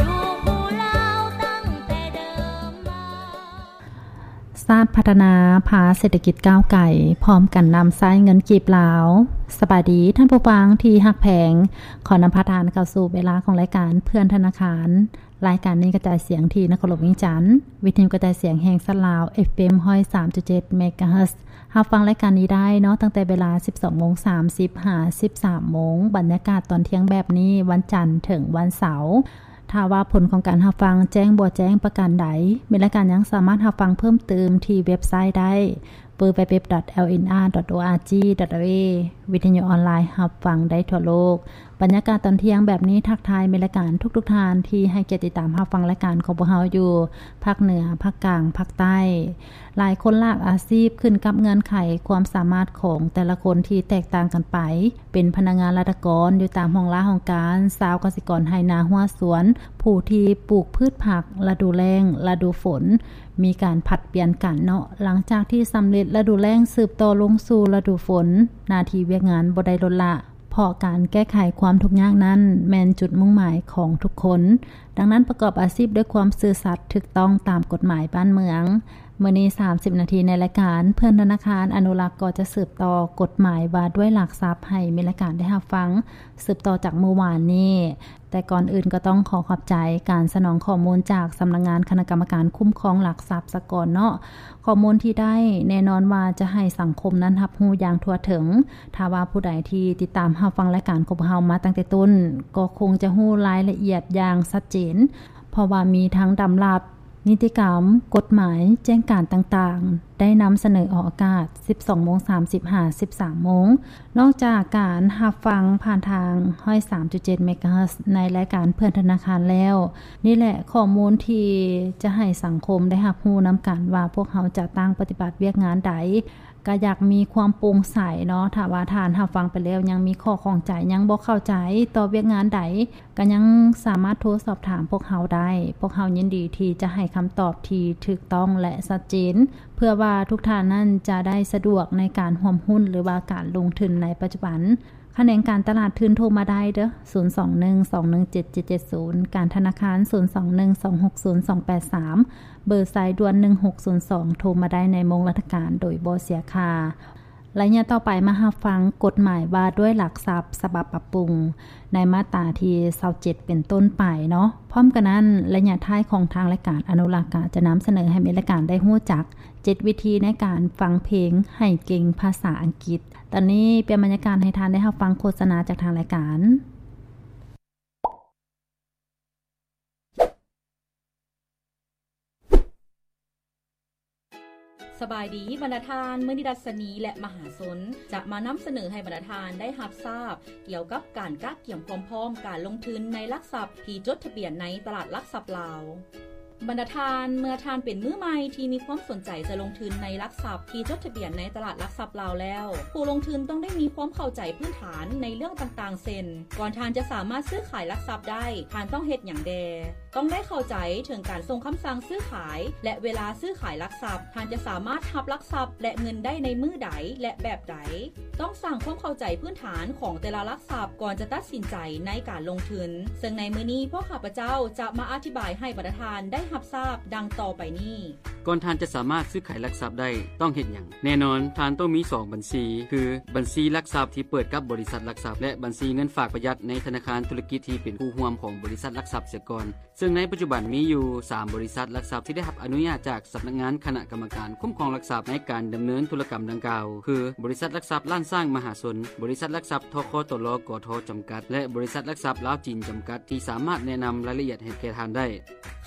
ຢູ່ຄູ່ລາວຕັ້ງແຕ່ເດີມມາ. ຊາດພັດທະນາ ພາເສດຖະກິດກ້າວໄກ ພ້ອມກັນນຳໃຊ້ເງິນກີບລາວ. ສະບາຍດີທ່ານຜູ້ຟັງທີ່ຮັກແພງ, ຂໍນຳພາທ່ານເຂົ້າສູ່ເວລາຂອງລາຍການເພື່ອນທະນາຄານ. ລາຍການນີ້ກະຈາຍສຽງທີ່ນະຄອນຫຼວງວຽງຈັນ, ວິທະຍຸກະຈາຍສຽງແຫ່ງຊາດລາວ ເອັຟເອັມ ຮ້ອຍສາມຈຸດເຈັດ ເມກາເຮີດ. ຮັບຟັງລາຍການນີ້ໄດ້ເນາະ ຕັ້ງແຕ່ເວລາສິບສອງໂມງສາມສິບ ຫາ ສິບສາມໂມງ, ບັນຍາກາດຕອນທ່ຽງແບບນີ້ ວັນຈັນເຖິງວັນເສົາ. ຖ້າວ່າຜົນຂອງການຮັບຟັງແຈ້ງບໍ່ແຈ້ງປະການໃດ, ແມ່ນລາຍການຍັງສາມາດຮັບຟັງເພີ່ມເຕີມທີ່ເວັບໄຊໄດ້ ดัບເບິນຢູ ດັບເບິນຢູ ດັບເບິນຢູ ດອດ ແອລ ເອັນ ອາ ດອດ ໂອ ອາ ຈີ ດອດ ເອ ວີ ວິທະຍຸອອນລາຍຮັບຟັງໄດ້ທົ່ວໂລກ. ບັນຍາກາດຕອນທ່ຽງແບບນີ້ ທັກທາຍແມ່ນລາຍການທຸກໆທ່ານທີ່ໃຫ້ກຽດຕິດຕາມຮັບຟັງລາຍການຂອງພວກເຮົາຢູ່ພາກເໜືອ, ພາກກາງ, ພາກໃຕ້. ຫຼາຍຄົນຫຼາກອາຊີບຂຶ້ນກັບເງື່ອນໄຂຄວາມສາມາດຂອງແຕ່ລະຄົນທີ່ແຕກຕ່າງກັນໄປ, ເປັນພະນັກງານລັດຖະກອນຢູ່ຕາມຫ້ອງລາຫ້ອງການ, ຊາວກະສິກອນໄຮ່ນາຮົ້ວສວນ, ຜູ້ທີ່ປູກພືດຜັກລະດູແລ້ງ, ລະດູຝົນ, ມີການຜັດປ່ຽນກັນເນາະ. ຫຼັງຈາກທີ່ສຳເລັດລະດູແລ້ງ ສືບຕໍ່ລົງສູ່ລະດູຝົນ, ໜ້າທີ່ວຽກງານບໍ່ໄດ້ລົດລະ, ເພາະການແກ້ໄຂຄວາມທຸກຍາກນັ້ນແມ່ນຈຸດມຸ່ງໝາຍຂອງທຸກຄົນ. ດັ່ງນັ້ນ, ປະກອບອາຊີບດ້ວຍຄວາມຊື່ສັດ, ຖືກຕ້ອງຕາມກົດໝາຍບ້ານເມືອງ. ມື້ນີ້ສາມສິບນາທີໃນລາຍການເພື່ອນທະນາຄານອະນຸລັກກໍຈະສືບຕໍ່ກົດໝາຍວ່າດ້ວຍຫຼັກຊັບໃຫ້ແມ່ນລາຍການໄດ້ຮັບຟັງ ສືບຕໍ່ຈາກມື້ວານນີ້. ແຕ່ກ່ອນອື່ນກໍຕ້ອງຂໍຂອບໃຈການສະໜອງຂໍ້ມູນຈາກສຳນັກງານຄະນະກຳມະການຄຸ້ມຄອງຫຼັກຊັບສາກົນເນາະ. ຂໍ້ມູນທີ່ໄດ້ແນ່ນອນວ່າຈະໃຫ້ສັງຄົມນັ້ນຮັບຮູ້ຢ່າງທົ່ວເຖິງ. ຖ້າວ່າຜູ້ໃດທີ່ຕິດຕາມຮັບຟັງລາຍການຂອງພວກເຮົາມາຕັ້ງແຕ່ຕົ້ນ ກໍຄົງຈະຮູ້ລາຍລະອຽດຢ່າງຊັດເຈນ, ເພາະວ່າມີທັງດຳລັດ, ນິຕິກຳ, ກົດໝາຍ, ແຈ້ງການຕ່າງໆ ໄດ້ນຳສະເໜີອອກອາກາດສິບສອງໂມງສາມສິບ ຫາ ສິບສາມໂມງ. ນອກຈາກການຮັບຟັງຜ່ານທາງຮ້ອຍສາມຈຸດເຈັດ ເມກາເຮີດ ໃນລາຍການເພື່ອນທະນາຄານແລ້ວ, ນີ້ແຫຼະຂໍ້ມູນທີ່ຈະໃຫ້ສັງຄົມໄດ້ຮັບຮູ້ນຳກັນວ່າພວກເຮົາຈະຕັ້ງປະຕິບັດວຽກງານໃດ, ກະຢາກມີຄວາມໂປ່ງໃສເນາະ. ຖ້າວ່າທ່ານຮັບຟັງໄປແລ້ວຍັງມີຂໍ້ຂ້ອງໃຈ, ຍັງບໍ່ເຂົ້າໃຈຕໍ່ວຽກງານໃດ, ກະຍັງສາມາດໂທສອບຖາມພວກເຮົາໄດ້. ພວກເຮົາຍິນດີທີ່ຈະໃຫ້ຄຳຕອບທີ່ຖືກຕ້ອງ ແລະ ຊັດເຈນ, ເພື່ອວ່າທຸກທ່ານນັ້ນຈະໄດ້ສະດວກໃນການຮ່ວມຮຸ້ນ ຫຼືວ່າການລົງທຶນໃນປັດຈຸບັນ. ຂະແໜງການຕະຫຼາດທຶນໂທມາໄດ້ເດີ້ ສູນສອງໜຶ່ງສອງໜຶ່ງເຈັດເຈັດເຈັດສູນ, ການທະນາຄານ ສູນສອງໜຶ່ງສອງຫົກສູນສອງແປດສາມ, ເບີສາຍດ່ວນໜຶ່ງຫົກສູນສອງ ໂທມາໄດ້ໃນໂມງລາຊະການໂດຍບໍ່ເສຍຄ່າ. ໄລຍະຕໍ່ໄປມາຮັບຟັງກົດໝາຍວ່າດ້ວຍຫຼັກຊັບສະບັບປັບປຸງ ໃນມາດຕາທີຊາວເຈັດເປັນຕົ້ນໄປເນາະ. ພ້ອມກັນນັ້ນ, ໄລຍະທ້າຍຂອງທາງລາຍການອະນຸລັກກະຈະນຳສະເໜີໃຫ້ແມ່ນລາຍການໄດ້ຮູ້ຈັກເຈັດວິທີໃນການຟັງເພງໃຫ້ເກັ່ງພາສາອັງກິດ. ຕອນນີ້ປ່ຽນບັນຍາກາດໃຫ້ທ່ານໄດ້ຮັບຟັງໂຄສະນາຈາກທາງລາຍການ. ສະບາຍດີບັນດາທ່ານ, ມື້ນີ້ດັດຊະນີ ແລະ ມະຫາຊົນ ຈະມານຳສະເໜີໃຫ້ບັນດາທ່ານໄດ້ຮັບຊາບກ່ຽວກັບການກະກຽມຄວາມພ້ອມການລົງທຶນໃນຫຼັກຊັບທີ່ຈົດທະບຽນໃນຕະຫຼາດຫຼັກຊັບລາວ. ບັນດາທ່ານ, ເມື່ອທ່ານເປັນມືໃໝ່ທີ່ມີຄວາມສົນໃຈຈະລົງທຶນໃນຫຼັກຊັບທີ່ຈົດທະບຽນໃນຕະຫຼາດຫຼັກຊັບລາວແລ້ວ, ຜູ້ລົງທຶນຕ້ອງໄດ້ມີຄວາມເຂົ້າໃຈພື້ນຖານໃນເລື່ອງຕ່າງໆ ເຊັ່ນ, ກ່ອນທ່ານຈະສາມາດຊື້ຂາຍຫຼັກຊັບໄດ້, ທ່ານຕ້ອງເຮັດຫຍັງແດ່? ຕ້ອງໄດ້ເຂົ້າໃຈເຖິງການສົ່ງຄຳສັ່ງຊື້ຂາຍ ແລະ ເວລາຊື້ຂາຍຫຼັກຊັບ. ທ່ານຈະສາມາດຮັບຫຼັກຊັບ ແລະ ເງິນໄດ້ໃນມື້ໃດ ແລະ ແບບໃດ. ຕ້ອງສ້າງຄວາມເຂົ້າໃຈພື້ນຖານຂອງແຕ່ລະຫຼັກຊັບກ່ອນຈະຕັດສິນໃຈໃນການລົງທຶນ, ເຊິ່ງໃນມື້ນີ້ພວກຂ້າພະເຈົ້າຈະມາອະທິບາຍໃຫ້ບັນດາທ່ານໄດ້ຮັບຊາບດັ່ງຕໍ່ໄປນີ້. ກ່ອນທ່ານຈະສາມາດຊື້ຂາຍຫຼັກຊັບໄດ້, ຕ້ອງເຮັດຫຍັງ? ແນ່ນອນ, ທ່ານຕ້ອງມີສອງບັນຊີ, ຄື ບັນຊີຫຼັກຊັບທີ່ເປີດກັບບໍລິສັດຫຼັກຊັບ ແລະ ບັນຊີເງິນຝາກປະຢັດໃນທະນາຄານທຸລະກິດທີ່ເປັນຄູ່ຮ່ວມຂອງບໍລິສັດຫຼັກຊັບເສຍກ່ອນ. ເຊິ່ງໃນປັດຈຸບັນມີຢູ່ສາມບໍລິສັດຫຼັກຊັບທີ່ໄດ້ຮັບອະນຸຍາດຈາກສຳນັກງານຄະນະກຳມະການຄຸ້ມຄອງຫຼັກຊັບໃນການດຳເນີນທຸລະກຳດັ່ງກ່າວ ຄື ບໍລິສັດຫຼັກຊັບລ້ານຊ້າງມະຫາຊົນ, ບໍລິສັດຫຼັກຊັບ ທຄຕລ ກທ ຈຳກັດ ແລະ ບໍລິສັດຫຼັກຊັບລາວຈີນຈຳກັດ ທີ່ສາມາດແນະນຳລາຍລະອຽດໃຫ້ແກ່ທ່ານໄດ້.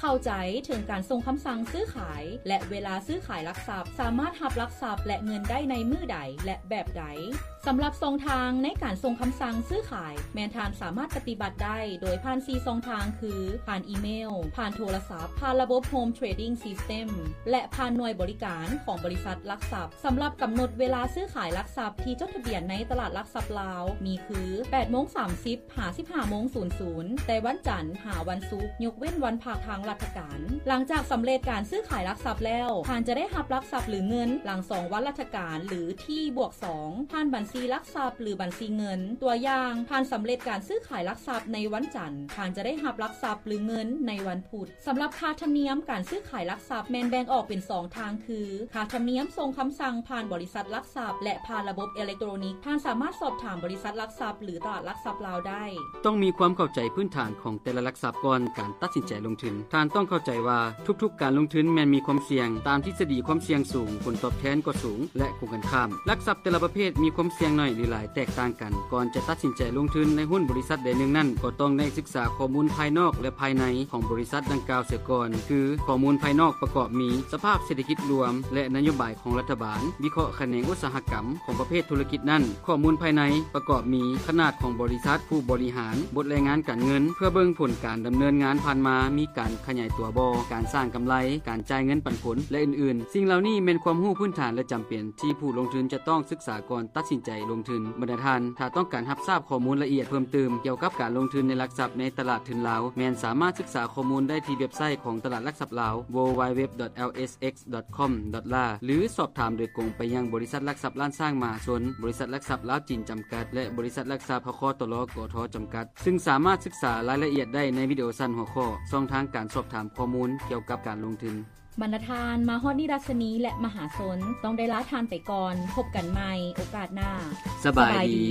ເຂົ້າໃຈເຖິງການສົ່ງຄຳສັ່ງຊື້ຂາຍ ແລະ ເວລາຊື້ຂາຍຫຼັກຊັບ, ສາມາດຮັບຫຼັກຊັບ ແລະ ເງິນໄດ້ໃນມື້ໃດ ແລະ ແບບໃດ. ສຳລັບຊ່ອງທາງໃນການສົ່ງຄຳສັ່ງຊື້ຂາຍ, ແມ່ນທ່ານສາມາດປະຕິບັດໄດ້ໂດຍຜ່ານສີ່ຊ່ອງທາງ ຄື ຜ່ານອີເມວ, ຜ່ານໂທລະສັບ, ຜ່ານລະບົບ Home Trading System ແລະ ຜ່ານໜ່ວຍບໍລິການຂອງບໍລິສັດຫຼັກຊັບ. ສຳລັບກຳນົດເວລາຊື້ຂາຍຫຼັກຊັບທີ່ຈົດທະບຽນໃນຕະຫຼາດຫຼັກຊັບລາວ ມີຄື ແປດໂມງສາມສິບ ຫາ ສິບຫ້າໂມງສູນສູນ ແຕ່ວັນຈັນຫາວັນສຸກ, ຍົກເວັ້ນວັນພັກທາງລັດຖະການ. ຫຼັງຈາກສຳເລັດການຊື້ຂາຍຫຼັກຊັບແລ້ວ, ທ່ານຈະໄດ້ຮັບຫຼັກຊັບ ຫຼື ເງິນຫຼັງສອງວັນລັດຖະການ ຫຼື T ບວກສອງ ຜ່ານບັນຊີຫຼັກຊັບ ຫຼື ບັນຊີເງິນ. ຕົວຢ່າງ, ທ່ານສຳເລັດການຊື້ຂາຍຫຼັກຊັບໃນວັນຈັນ, ທ່ານຈະໄດ້ຮັບຫຼັກຊັບ ຫຼື ເງິນໃນວັນພຸດ. ສຳລັບຄ່າທຳນຽມການຊື້ຂາຍຫຼັກຊັບແມ່ນແບ່ງອອກເປັນສອງທາງ ຄື ຄ່າທຳນຽມສົ່ງຄຳສັ່ງຜ່ານບໍລິສັດຫຼັກຊັບ ແລະ ຜ່ານລະບົບເອເລັກໂຕຣນິກ. ທ່ານສາມາດສອບຖາມບໍລິສັດຫຼັກຊັບ ຫຼື ຕະຫຼາດຫຼັກຊັບລາວໄດ້. ຕ້ອງມີຄວາມເຂົ້າໃຈພື້ນຖານຂອງແຕ່ລະຫຼັກຊັບກ່ອນການຕັດສິນໃຈລົງທຶນ. ທ່ານຕ້ອງເຂົ້າໃຈວ່າທຸກໆການລົງທຶນແມ່ນມີຄວາມສ່ຽງ. ຕາມທິດສະດີຄວາມສ່ຽງສູງ, ຜົນຕອບແທນກໍສູງ ແລະ ກົງກັນຂ້າມ. ຫຼັກຊັບແຕ່ລະປະເພດມີຄວາມສ່ຽງໜ້ອຍ ຫຼື ຫຼາຍແຕກຕ່າງກັນ. ກ່ອນຈະຕັດສິນໃຈລົງທຶນໃນຫຸ້ນບໍລິສັດໃດໜຶ່ງນັ້ນ, ກໍຕ້ອງໄດ້ສຶກສາຂໍ້ມູນພາຍນອກ ແລະ ພາຍໃນຂອງບໍລິສັດດັ່ງກ່າວເສຍກ່ອນ, ຄື ຂໍ້ມູນພາຍນອກປະກອບມີ ສະພາບເສດຖະກິດລວມ ແລະ ນະໂຍບາຍຂອງລັດຖະບານ, ວິເຄາະຂະແໜງອຸດສາຫະກຳຂອງປະເພດທຸລະກິດນັ້ນ. ຂໍ້ມູນພາຍໃນປະກອບມີ ຂະໜາດຂອງບໍລິສັດ, ຜູ້ບໍລິຫານ, ບົດລາຍງານການເງິນ ເພື່ອເບິ່ງຜົນການດຳເນີນງານຜ່ານມາ, ມີການຂະຫຍາຍຕົວບໍ່, ການສ້າງກຳໄລ, ການຈ່າຍເງິນປັນຜົນ ແລະ ອື່ນໆ. ສິ່ງເຫຼົ່ານີ້ແມ່ນຄວາມຮູ້ພື້ນຖານ ແລະ ຈຳເປັນທີ່ຜູ້ລົງທຶນຈະຕ້ອງສຶກສາກ່ອນຕັດສິນໃຈລົງທຶນ. ບັນດາທ່ານ, ຖ້າຕ້ອງການຮັບຊາບຂໍ້ມູນລະອຽດເພີ່ມຕື່ມກ່ຽວກັບການລົງທຶນໃນຫຼັກຊັບໃນຕະຫຼາດທຶນລາວ, ແມ່ນສາມາດສຶກສາຂໍ້ມູນໄດ້ທີ່ເວັບໄຊຂອງຕະຫຼາດຫຼັກຊັບລາວ www.lsx.com.la ຫຼື ສອບຖາມໂດຍກົງໄປຍັງບໍລິສັດຫຼັກຊັບລ້ານຊ້າງມະຫາຊົນ, ບໍລິສັດຫຼັກຊັບລາວຈີນຈຳກັດ ແລະ ບໍລິສັດຫຼັກຊັບ ທຄຕລ ກທ ຈຳກັດ, ຊຶ່ງສາມາດສຶກສາລາຍລະອຽດໄດ້ໃນວິດີໂອສັ້ນຫົວຂໍ້ ຊ່ອງທາງການສອບຖາມຂໍ້ມູນກ່ຽວກັບການລົງທຶນ. ບັນດາທ່ານ, ມາຮອດນີ້ ລັດຊະນີ ແລະ ມະຫາຊົນ ຕ້ອງໄດ້ລາທ່ານໄປກ່ອນ. ພົບກັນໃໝ່ໂອກາດໜ້າ. ສະບາຍດີ. ສະບາຍດີ.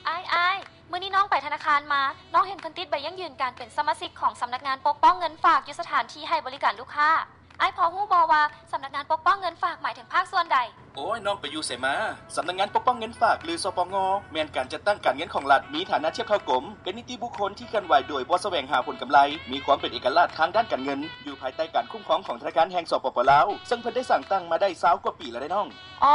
ອ້າຍ, ອ້າຍ, ມື້ນີ້ນ້ອງໄປທະນາຄານມາ, ນ້ອງເຫັນເພິ່ນຕິດໃບຢັ້ງຢືນການເປັນສະມາຊິກຂອງສຳນັກງານປົກປ້ອງເງິນຝາກຢູ່ສະຖານທີ່ໃຫ້ບໍລິການລູກຄ້າ. ອ້າຍພໍຮູ້ບໍ່ວ່າສຳນັກງານປົກປ້ອງເງິນຝາກໝາຍເຖິງພາກສ່ວນໃດ? ໂອ້ຍ, ນ້ອງໄປຢູ່ໃສມາ? ສຳນັກງານປົກປ້ອງເງິນຝາກ ຫຼື ສປງ ແມ່ນການຈັດຕັ້ງການເງິນຂອງລັດ, ມີຖານະທຽບເທົ່າກົມ, ເປັນນິຕິບຸກຄົນທີ່ເຄື່ອນໄຫວໂດຍບໍ່ສະແຫວງຫາຜົນກຳໄລ, ມີຄວາມເປັນເອກະລາດທາງດ້ານການເງິນ, ຢູ່ພາຍໃຕ້ການຄຸ້ມຄອງຂອງທະນາຄານແຫ່ງ ສປປ ລາວ, ເຊິ່ງເພິ່ນໄດ້ສ້າງຕັ້ງມາໄດ້ຊາວກວ່າປີແລ້ວເດ້ນ້ອງ. ອໍ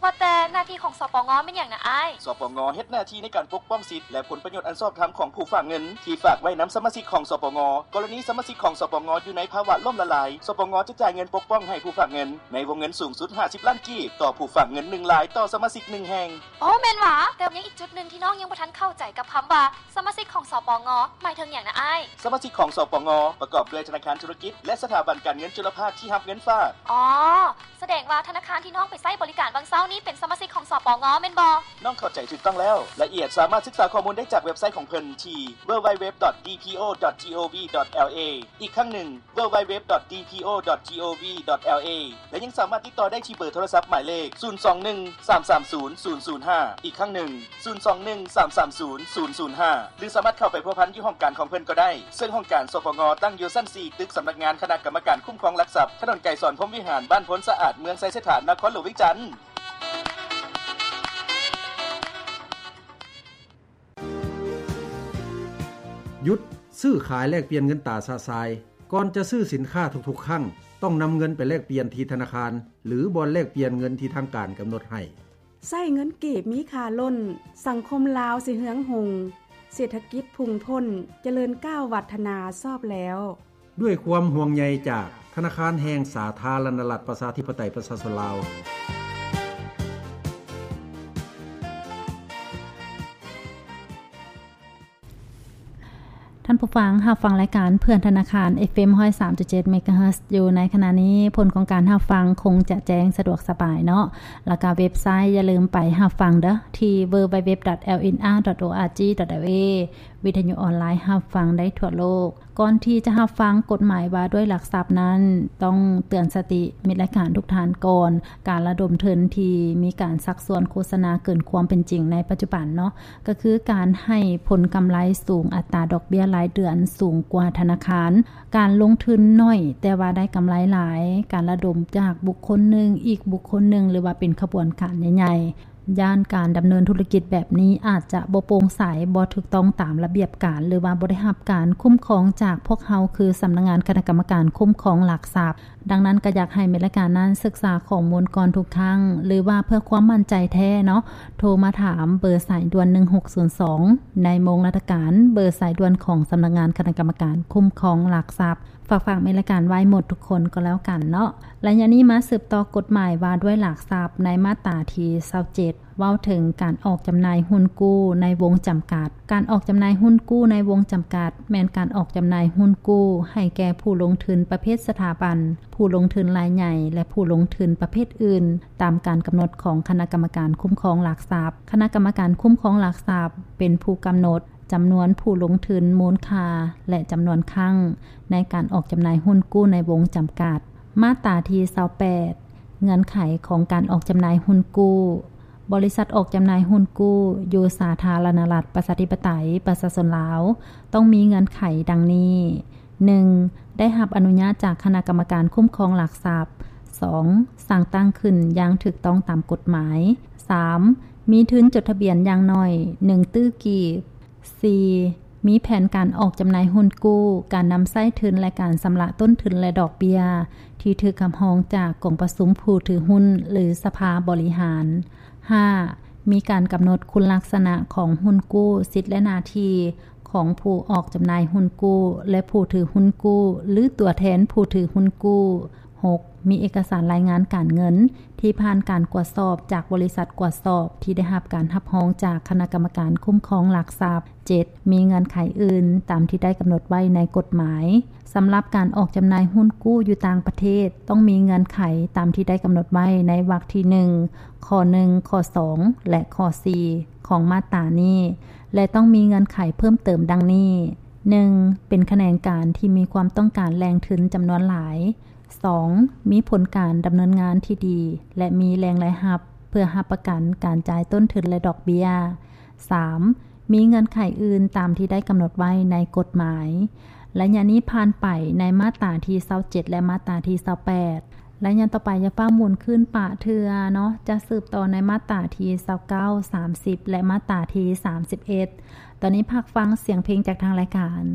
ວ່າແຕ່ໜ້າທີ່ຂອງ ສປງ ແມ່ນຫຍັງນະອ້າຍ? ສປງ ເຮັດໜ້າທີ່ໃນການປົກປ້ອງສິດ ແລະ ຜົນປະໂຫຍດອັນຊອບທຳຂອງຜູ້ຝາກເງິນທີ່ຝາກໄວ້ນຳສະມາຊິກຂອງ ສປງ. ກໍລະນີສະມາຊິກຂອງ ສປງ ຢູ່ໃນພາວະລົ້ມລະລາຍ, ສປງ ຈະຈ່າຍເງິນປົກປ້ອງໃຫ້ຜູ້ຝາກເງິນໃນວົງເງິນສູງສຸດຫ້າສິບລ້ານກີບ ຕໍ່ຜູ້ຝາກເງິນໜຶ່ງລາຍຕໍ່ສະມາຊິກໜຶ່ງແຫ່ງ. ໂອ້ ແມ່ນຫວາ? ແຕ່ຍັງອີກຈຸດໜຶ່ງທີ່ນ້ອງຍັງບໍ່ທັນເຂົ້າໃຈກັບຄຳວ່າສະມາຊິກຂອງ ສປງ ໝາຍເຖິງຫຍັງນະອ້າຍ? ສະມາຊິກຂອງ ສປງ ປະກອບດ້ວຍທະນາຄານທຸລະກິດ ແລະ ສະຖາບັນການເງິນຈຸລະພາກທີ່ຮັບເງິນຝາກ. ອໍ ສະແດງວ່າທະນາຄານທີ່ນ້ອງໄປໃຊ້ບໍລິການຫວ່າງເຊົ້ານີ້ເປັນສະມາຊິກຂອງ ສປງ ແມ່ນບໍ່? ນ້ອງເຂົ້າໃຈຖືກຕ້ອງແລ້ວ. ລາຍລະອຽດສາມາດສຶກສາຂໍ້ມູນໄດ້ຈາກເວັບໄຊຂອງເພິ່ນທີ່ www.dpo.gov.la. ອີກຄັ້ງໜຶ່ງ www.dpo.gov.la ແລະ ຍັງສາມາດຕິດຕໍ່ໄດ້ທີ່ເບີໂທລະສັບໝາຍເລກ ສູນສອງໜຶ່ງ ສາມສາມສູນ ສູນສູນຫ້າ. ອີກຄັ້ງໜຶ່ງ ສູນສອງໜຶ່ງ ສາມສາມສູນ ສູນສູນຫ້າ ຫຼື ສາມາດເຂົ້າໄປພົວພັນຢູ່ຫ້ອງການຂອງເພິ່ນກໍໄດ້, ເຊິ່ງຫ້ອງການ ສປງ ຕັ້ງຢູ່ຊັ້ນສີ່ ຕຶກສຳນັກງານຄະນະກຳມະການຄຸ້ມຄອງຫຼັກຊັບ, ຖະໜົນໄກສອນ ພົມວິຫານ, ບ້ານໂພນສະອາດ, ເມືອງໄຊເສດຖາ, ນະຄອນຫຼວງວຽງຈັນ. ຢຸດຊື້ຂາຍແລກປ່ຽນເງິນຕາຊະຊາຍ. ກ່ອນຈະຊື້ສິນຄ້າທຸກໆຄັ້ງ, ຕ້ອງນຳເງິນໄປແລກປ່ຽນທີ່ທະນາຄານ ຫຼື ບ່ອນແລກປ່ຽນເງິນທີ່ທາງການກຳນົດໃຫ້. ໃຊ້ເງິນກີບມີຄ່າລົ້ນ, ສັງຄົມລາວຊິເຮືອງຮຸ່ງ. ເສດຖະກິດພຸ່ງພົ້ນ ຈະເລີນກ້າວວັດທະນາຊອບແລ້ວ. ດ້ວຍຄວາມຫ່ວງໃຍຈາກທະນາຄານແຫ່ງສາທາລະນະລັດ ປະຊາທິປະໄຕ ປະຊາຊົນລາວ. ທ່ານຜູ້ຟັງຮັບຟັງລາຍການເພື່ອນທະນາຄານ ເອັຟເອັມ ຮ້ອຍສາມຈຸດເຈັດ ເມກາເຮີດ ຢູ່ໃນຂະນະນີ້. ຜົນຂອງການຮັບຟັງຄົງຈະແຈ້ງສະດວກສະບາຍເນາະ ແລ້ວກະເວັບໄຊ ຢ່າລືມໄປຮັບຟັງເດີ້ ທີ່ ดัບເບິນຢູ ດັບເບິນຢູ ດັບເບິນຢູ ດັບເບິນຢູ ດັບເບິນຢູ ເອ ວິທະຍຸອອນລາຍ ຮັບຟັງໄດ້ທົ່ວໂລກ. ກ່ອນທີ່ຈະຮັບຟັງກົດໝາຍວ່າດ້ວຍຫຼັກຊັບນັ້ນ, ຕ້ອງເຕືອນສະຕິມິດລາຍການທຸກທ່ານກ່ອນ, ການລະດົມທຶນທີ່ມີການຊັກຊວນໂຄສະນາເກີນຄວາມເປັນຈິງໃນປັດຈຸບັນເນາະ, ກໍຄືການໃຫ້ຜົນກຳໄລສູງ, ອັດຕາດອກເບ້ຍລາຍເດືອນສູງກວ່າທະນາຄານ, ການລົງທຶນໜ້ອຍແຕ່ວ່າໄດ້ກຳໄລຫຼາຍ, ການລະດົມຈາກບຸກຄົນໜຶ່ງອີກບຸກຄົນໜຶ່ງ ຫຼືວ່າເປັນຂະບວນການໃຫຍ່ໆ. ຢ້ານການດຳເນີນທຸລະກິດແບບນີ້ອາດຈະບໍ່ໂປ່ງໃສ, ບໍ່ຖືກຕ້ອງຕາມລະບຽບການ ຫຼືວ່າບໍ່ໄດ້ຮັບການຄຸ້ມຄອງຈາກພວກເຮົາ ຄືສຳນັກງານຄະນະກຳມະການຄຸ້ມຄອງຫຼັກຊັບ. ດັ່ງນັ້ນກໍຢາກໃຫ້ແມ່ນລາຍການນັ້ນສຶກສາຂໍ້ມູນກ່ອນທຸກຄັ້ງ ຫຼືວ່າເພື່ອຄວາມໝັ້ນໃຈແທ້ເນາະ, ໂທມາຖາມເບີສາຍດ່ວນໜຶ່ງຫົກສູນສອງ ໃນໂມງລາຊະການ, ເບີສາຍດ່ວນຂອງສຳນັກງານຄະນະກຳມະການຄຸ້ມຄອງຫຼັກຊັບ. ຝາກ ຝາກແມ່ນລາຍການໄວ້ໝົດທຸກຄົນກໍແລ້ວກັນເນາະ. ໄລຍະນີ້ມາສືບຕໍ່ກົດໝາຍວ່າດ້ວຍຫຼັກຊັບ ໃນມາດຕາທີຊາວເຈັດ ເວົ້າເຖິງການອອກຈຳໜ່າຍຫຸ້ນກູ້ໃນວົງຈຳກັດ. ການອອກຈຳໜ່າຍຫຸ້ນກູ້ໃນວົງຈຳກັດ ແມ່ນການອອກຈຳໜ່າຍຫຸ້ນກູ້ໃຫ້ແກ່ຜູ້ລົງທຶນປະເພດສະຖາບັນ, ຜູ້ລົງທຶນລາຍໃຫຍ່ ແລະ ຜູ້ລົງທຶນປະເພດອື່ນ ຕາມການກຳນົດຂອງຄະນະກຳມະການຄຸ້ມຄອງຫຼັກຊັບ. ຄະນະກຳມະການຄຸ້ມຄອງຫຼັກຊັບ ເປັນຜູ້ກຳນົດ ຈຳນວນຜູ້ລົງທຶນ, ມູນຄ່າ ແລະ ຈຳນວນຄັ້ງໃນການອອກຈຳໜ່າຍຫຸ້ນກູ້ໃນວົງຈຳກັດ. ມາດຕາທີຊາວແປດ ເງື່ອນໄຂຂອງການອອກຈຳໜ່າຍຫຸ້ນກູ້. ບໍລິສັດອອກຈຳໜ່າຍຫຸ້ນກູ້ຢູ່ສາທາລະນະລັດ ປະຊາທິປະໄຕ ປະຊາຊົນລາວ ຕ້ອງມີເງື່ອນໄຂດັ່ງນີ້. ໜຶ່ງ ໄດ້ຮັບອະນຸຍາດຈາກຄະນະກຳມະການຄຸ້ມຄອງຫຼັກຊັບ. ສອງ ສ້າງຕັ້ງຂຶ້ນຢ່າງຖືກຕ້ອງຕາມກົດໝາຍ. ສາມ ມີທຶນຈົດທະບຽນຢ່າງໜ້ອຍໜຶ່ງຕື້ກີບ. ສີ່ ມີແຜນການອອກຈຳໜ່າຍຫຸ້ນກູ້, ການນຳໃຊ້ທຶນ ແລະ ການຊຳລະຕົ້ນທຶນ ແລະ ດອກເບ້ຍ ທີ່ຖືກຮັບຮອງຈາກກອງປະຊຸມຜູ້ຖືຫຸ້ນ ຫຼື ສະພາບໍລິຫານ. ຫ້າ ມີການກຳນົດຄຸນລັກສະນະຂອງຫຸ້ນກູ້, ສິດ ແລະ ໜ້າທີ່ຂອງຜູ້ອອກຈຳໜ່າຍຫຸ້ນກູ້ ແລະ ຜູ້ຖືຫຸ້ນກູ້ ຫຼື ຕົວແທນຜູ້ຖືຫຸ້ນກູ້. ຫົກ ມີເອກະສານລາຍງານການເງິນທີ່ຜ່ານການກວດສອບຈາກບໍລິສັດກວດສອບທີ່ໄດ້ຮັບການຮັບຮອງຈາກຄະນະກຳມະການຄຸ້ມຄອງຫຼັກຊັບ. ເຈັດ ມີເງື່ອນໄຂອື່ນຕາມທີ່ໄດ້ກຳນົດໄວ້ໃນກົດໝາຍ. ສຳລັບການອອກຈຳໜ່າຍຫຸ້ນກູ້ຢູ່ຕ່າງປະເທດ ຕ້ອງມີເງື່ອນໄຂຕາມທີ່ໄດ້ກຳນົດໄວ້ໃນວັກທີໜຶ່ງ ຂໍ້ໜຶ່ງ ຂໍ້ສອງ ແລະ ຂໍ້ສີ່ ຂອງມາດຕານີ້ ແລະ ຕ້ອງມີເງື່ອນໄຂເພີ່ມເຕີມດັ່ງນີ້. ໜຶ່ງ ເປັນຂະແໜງການທີ່ມີຄວາມຕ້ອງການແຫຼ່ງທຶນຈຳນວນຫຼາຍ. ສອງ ມີຜົນການດຳເນີນງານທີ່ດີ ແລະ ມີແຫຼ່ງລາຍຮັບເພື່ອຮັບປະກັນການຈ່າຍຕົ້ນທຶນ ແລະ ດອກເບ້ຍ. ສາມ ມີເງື່ອນໄຂອື່ນຕາມທີ່ໄດ້ກຳນົດໄວ້ໃນກົດໝາຍ. ໄລຍະນີ້ຜ່ານໄປໃນມາດຕາທີຊາວເຈັດ ແລະ ມາດຕາທີຊາວແປດ. ໄລຍະຕໍ່ໄປຢ່າຟ້າວໝູນຄືນປະເທື່ອເນາະ, ຈະສືບຕໍ່ໃນມາດຕາທີຊາວເກົ້າ, ສາມສິບ ແລະ ມາດຕາທີສາມສິບເອັດ. ຕອນນີ້ພັກຟັງສຽງເພງຈາກທາງລາຍການ.